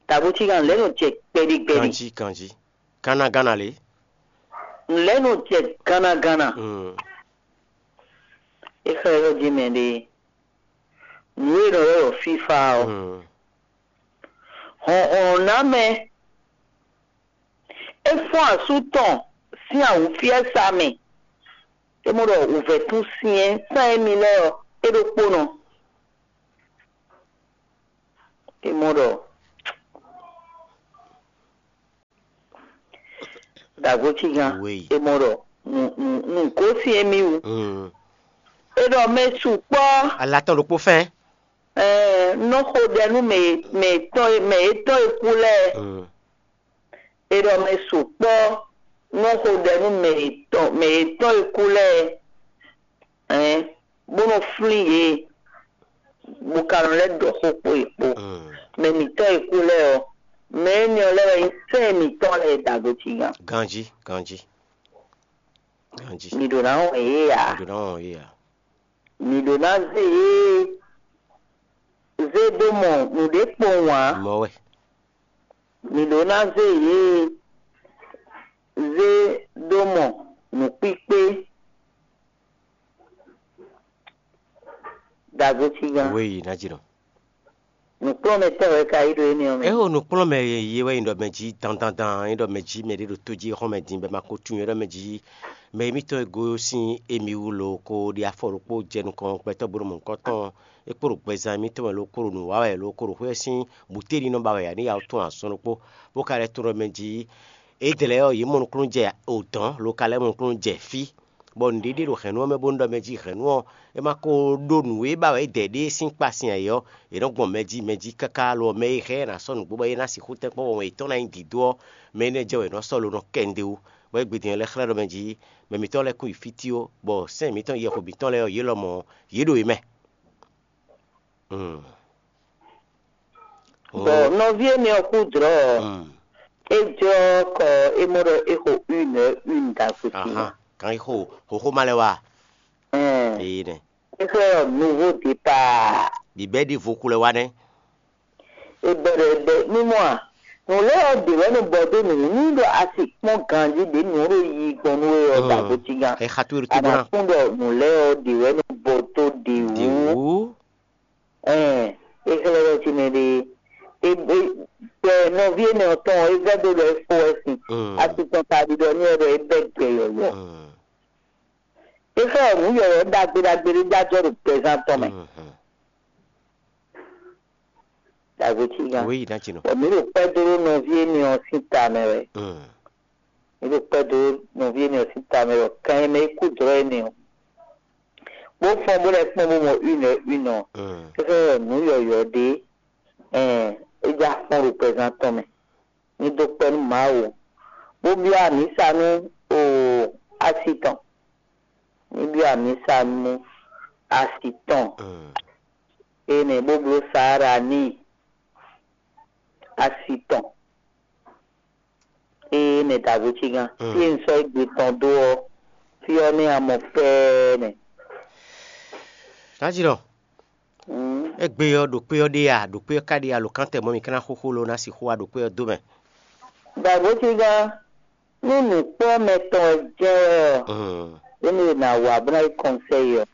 Dǎgbójígán lɛ̌ nɔ jɛ kpɛɖi kpɛɖi. Ganjí, ganjí. Gánagána lě. Lɛ̌ nɔ jɛ gánagána. Mm. É xlɛ́ ɖɔ jí mɛ ɖé. Nǔ e nɔ ylɔ́ ɖɔ fífá ɔ́, Mm. hlɔ̌nhlɔ́n ná mɛ. É fɔ́n asú tɔn sín awǔfiɛ́sa mɛ. É mɔ ɖɔ wǔvɛ́tún syɛ́n sán émí lɛ́ɛ ɔ́, é ɖokpónɔ. É mɔ ɖɔ Dǎgbójígán, Oui. É mɔ ɖɔ nǔ nǔ nǔ gosín émí wú. Mm. É ɖɔ mɛ sukpɔ́ Ala tɔn ɖokpó fɛ́n. Ɛɛ, nɔ xo ɖɛ nú mɛ mɛ tɔn mɛ yětɔn e kú lɛ́ɛ. Mm. È ɖɔ mɛ sukpɔ́ nɔ xo ɖɛ nú mɛ yětɔn mɛ yětɔn e kú lɛ́ɛ, ɛn, bó nɔ flín yě, bó ka nɔ lɛ́ ɖɔ xó kpó yě kpó. Mm. Mɛ mǐtɔn e kú lɛ́ɛ ɔ́, mɛ énɛ́ ɔ́ lɛ́ɛ wɛ nyí sɛ́n mǐtɔn lɛ́ɛ ɖo agotígan. Ganjí, ganjí, ganjí. Mǐ ɖǒ ná wɔn yě ǎ. Mǐ ɖǒ ná wɔn yě ǎ. Mǐ ɖǒ ná zé yě zé dó mɔ nǔɖé kpowun ǎ. Mɔ̌ wɛ. Mǐ ɖǒ ná zé yě zé dó mɔ nǔkpíkpé ɖo agotígan. Wéyi ná jǐ nɔ. Nǔkplɔ́nmɛtɔ́ wɛ ka yí ɖo énɛ́ ɔ́ mɛ. Éwo nǔkplɔ́nmɛ ye wɛ nyí ɖɔ mɛ jí dandandan, nyí ɖɔ mɛ jí mɛ ɖé ɖo tó jí xɔ́mɛ din bɔ è ma ko tunwun é ɖɔ mɛ jí mɛ émítɔn e gosín émí wú lo ko ɖi afɔ ɖokpó jɛ nukɔn gbɛtɔ́ bó nɔ mɔ nukɔn tɔn é kpo ɖo gbɛzán émítɔn mɛ lo ko ɖo nǔ wa wɛ lo ko ɖo xwé ɔ́ sín bǔtéɖinɔ ba wɛ ǎ ní yawo tɔn azɔn ɖokpó bó ka lɛ́ tunwun ɖɔ mɛ jí é dlɛ̌ ɔ́ yě mɔ nukúnnú jɛ odɔ̌n lo ka lɛ́ mɔ nukúnnú jɛ fí. Bɔ nǔɖiɖi ɖo hɛ̌nnu ɔ́ mɛ bónú ɖɔ mɛ jí hɛ̌nnu ɔ́ é ma ko ɖó nǔ e ba wɛ é dɛ ɖé sín kpa sin ayǐ ɔ́, è nɔ́ gbɔn mɛ jí mɛ jí káká lo ɔ́, mɛ e hɛn ɛ ná sɔ́ nǔgbó bɔ é ná sixú tɛ́nkpɔ́n wɔn yětɔn ná nyí dǐdó ɔ́, mɛ énɛ́ jɛ wɛ è nɔ sɔ́ lo nɔ kɛ nǔɖé wú. Bɔ é gbe din ɔ́ lɛ́ xlɛ́ ɖɔ mɛ jí mɛ mǐtɔn lɛ́ɛ kún yi fítí ó, bɔ sɛ́n mǐtɔn yɛxo mǐtɔn lɛ́ɛ ɔ́, yě lɔmɔ̌ ɔ́, yě ɖo yě mɛ. Mm. Bɔ nɔví énɛ́ ɔ́ kú dlɔ̌ ɔ́, Mm. É jlɔ́ kɔ é mɔ ɖɔ é xo une heure une ɖagbe ce. Ahan, kan yi xo xoxo ma lɛ wa. Ɛn, Ee nɛ. É xlɛ́ ɖɔ nouveau départ. Bibɛ ɖi voku lɛ wa nɛ. É bɛ ɖɔ é bɛ mímɔ a? Nǔ lɛ́ɛ ɔ́ ɖě wɛ nɔ bɔ dó nǔ ní ɖɔ a si kpɔ́n ganjí ɖě nǔ ɔ́ ɖo yi gbɔn nú we ɔ́ Mm. Ɖagbe ce gán. Ɛ xa towe ɖo A tó nǎ gbɔn ná. Kpɔ́n ɖɔ nǔ lɛ́ɛ ɔ́ ɖě wɛ nɔ bɔ dó ɖě wú. Ɖě wú. Ɛn, é xlɛ́ ɖɔ ce mɛ ɖe é é bɛ nɔví énɛ́ ɔ́ tɔn ɔ́, é vɛ́ dó ɖɔ é fó wɛ sin. Mm. Asi tɔn ka ɖiɖɔ n'i wɛ ɖɔ é bɛ́ gbɛ yɔ̌yɔ́. Mm. É xlɛ́ ɖɔ nǔ yɔ̌yɔ́ ɖagbe ɖagbe ɖé jajɔ ɖo gbɛzán tɔn mɛ. Mhm. Ɖagbe ce gán. Oui, ná ce nɔ. Bɔ mǐ ɖo kpɛ́ dó ɖó nɔví énɛ́ ɔ́ sín ta mɛ wɛ. Mm. Mǐ ɖo kpɛ́ dó nɔví énɛ́ ɔ́ sín ta mɛ wɛ kan e mɛ é kú dlɔ́ énɛ́ ɔ́. Bó fɔ́n bó lɛ́ kpɔ́n bó mɔ une heure une ɔ́. Mm. É xlɛ́ ɖɔ nǔ yɔ̌yɔ́ ɖé ɛn é já fɔ́n ɖo gbɛzán tɔn mɛ. ní dó kpɔ́ nú Mawu, bó byɔ́ amǐsa nú o asi tɔn. Ní byɔ́ amǐsa nú asi tɔn. Énɛ́ bó bló Saara n'i, asi tɔn. Énɛ́ dǎgbó cígán. Fí e un sɔ́ égbé tɔn dó ɔ́, fí ɔ́ nɛ́ a mɔ fɛ́ɛ́ nɛ́. Nǎjínɔ, égbé ɔ́ ɖo kpé ɔ́ ɖe a? Ɖo kpé ɔ́ ka ɖe a? Alǒkántɛ mɔ̌ mi ka ná xóxó ló ná sixú wá ɖo kpé ɔ́ dó mɛ. Dǎgbó cígán, nú nǔkpɔ́mɛ tɔn wɛ jɛ́n wɛ ɔ́, énɛ́ e nǎ wá bó ná yí kɔnsɛ́yi ɔ́,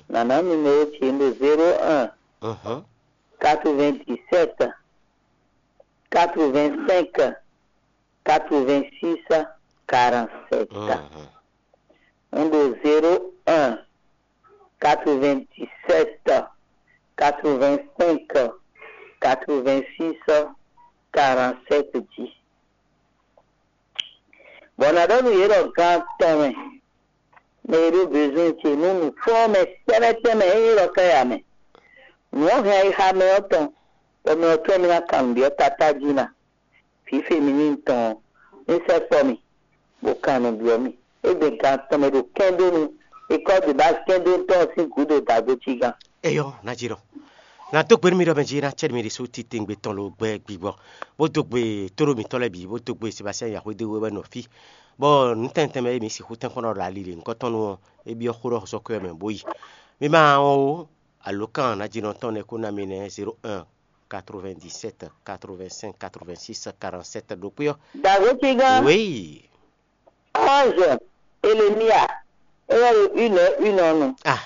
nǎ ná numéro ce ɖo zéro un, quatre-vingt-dix-sept, quatre-vingt-cinq, quatre-vingt-six, quarante-sept. Un ɖo zéro un, quatre-vingt-dix-sept, quatre-vingt-cinq, quatre-vingt-six, quarante-sept jí. Bɔ ná ɖɔ nú yě ɖɔ gan tɔn mɛ, mɛ e ɖó bezwɛn ce nú nǔkplɔ́nmɛ tɛ́nmɛ tɛ́nmɛ e nyí ɖɔ káya mɛ. Nǔ ɔ́ hɛn ayixa mɛ ɔ́ tɔn, bɔ mɛ ɔ́ tɔ́n mì ná kan nǔ ɖi ɔ́ tatájí ná. Vǐ feminin tɔn ɔ́, ní sɛkpɔ́ mì, bó kan nǔ byɔ́ mì. É gbe gan tɔn mɛ ɖo kɛ́ndónu, é kɔ́ ɖo bá kɛ́ndónu tɔn ɔ́ sín gǔdo dǎgbó cí gán. Eyɔ́, ná jí ɖɔ. Ná dó gbe nú mi ɖɔ mɛ jí ná cɛ́ mi ɖésú titewungbe tɔn lo gbɛ gbigbɔ, bó dó gbe tóɖó mǐtɔn lɛ́ɛ bǐ, bó dó gbe Sebastiyani Yaxwédéwé wɛ nɔ fí, bɔ nǔ tɛntɛn mɛ e mǐ sixú tɛ́nkpɔ́n ɖɔ ɖo ali lě nyǐkɔ tɔn nu ɔ́, é byɔ́ xó ɖɔ sɔ́ kwɛ́ mɛ bó yi. Mi ma wɔn ó, alǒkan nájínɔ tɔn lɛ́ɛ kó ná mi nɛ́ zéro un, quatre-vingt-dix-sept, quatre-vingt-cinq, quatre-vingt-six, quarante-sept ɖokpé ɔ́. Dǎgbó cí gán. Wéyi. Ange Elémia, é wɛ ɖo une heure une heure nu. Ah.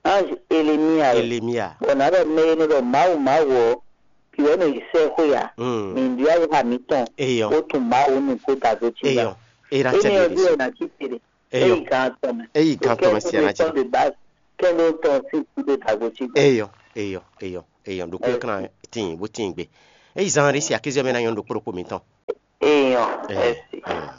Ange Elémia wɛ. Elémia. Bɔ ná ɖɔ mɛ e nɔ ɖɔ Mawu Mawu ɔ́, bǐ wɛ nɔ yi sɛ́ xwé ǎ. Mm. Mǐ ɖó ayixa mǐtɔn. Eyɔ. Bó tún Mawu nu kó da dó cí gán. Eyɔ. Era Énɛ́ ɔ́ jí wɛ ná cí tere. Eyɔ. É yi gán tɔn mɛ. É yi gán tɔn mɛ sí aná jí. Kɛ́ndó tɔn sín kúdó dǎgbó cí gán. Eyɔ. Eyɔ. Eyɔ. Eyɔ. Ɖokpó yɔ kana tín bó tín gbe. É yi zan ɖé si akézɔ mɛ ná nyɔ́ ɖokpó ɖokpó mǐtɔn. Eyɔ. Eyɔ. Eyɔ.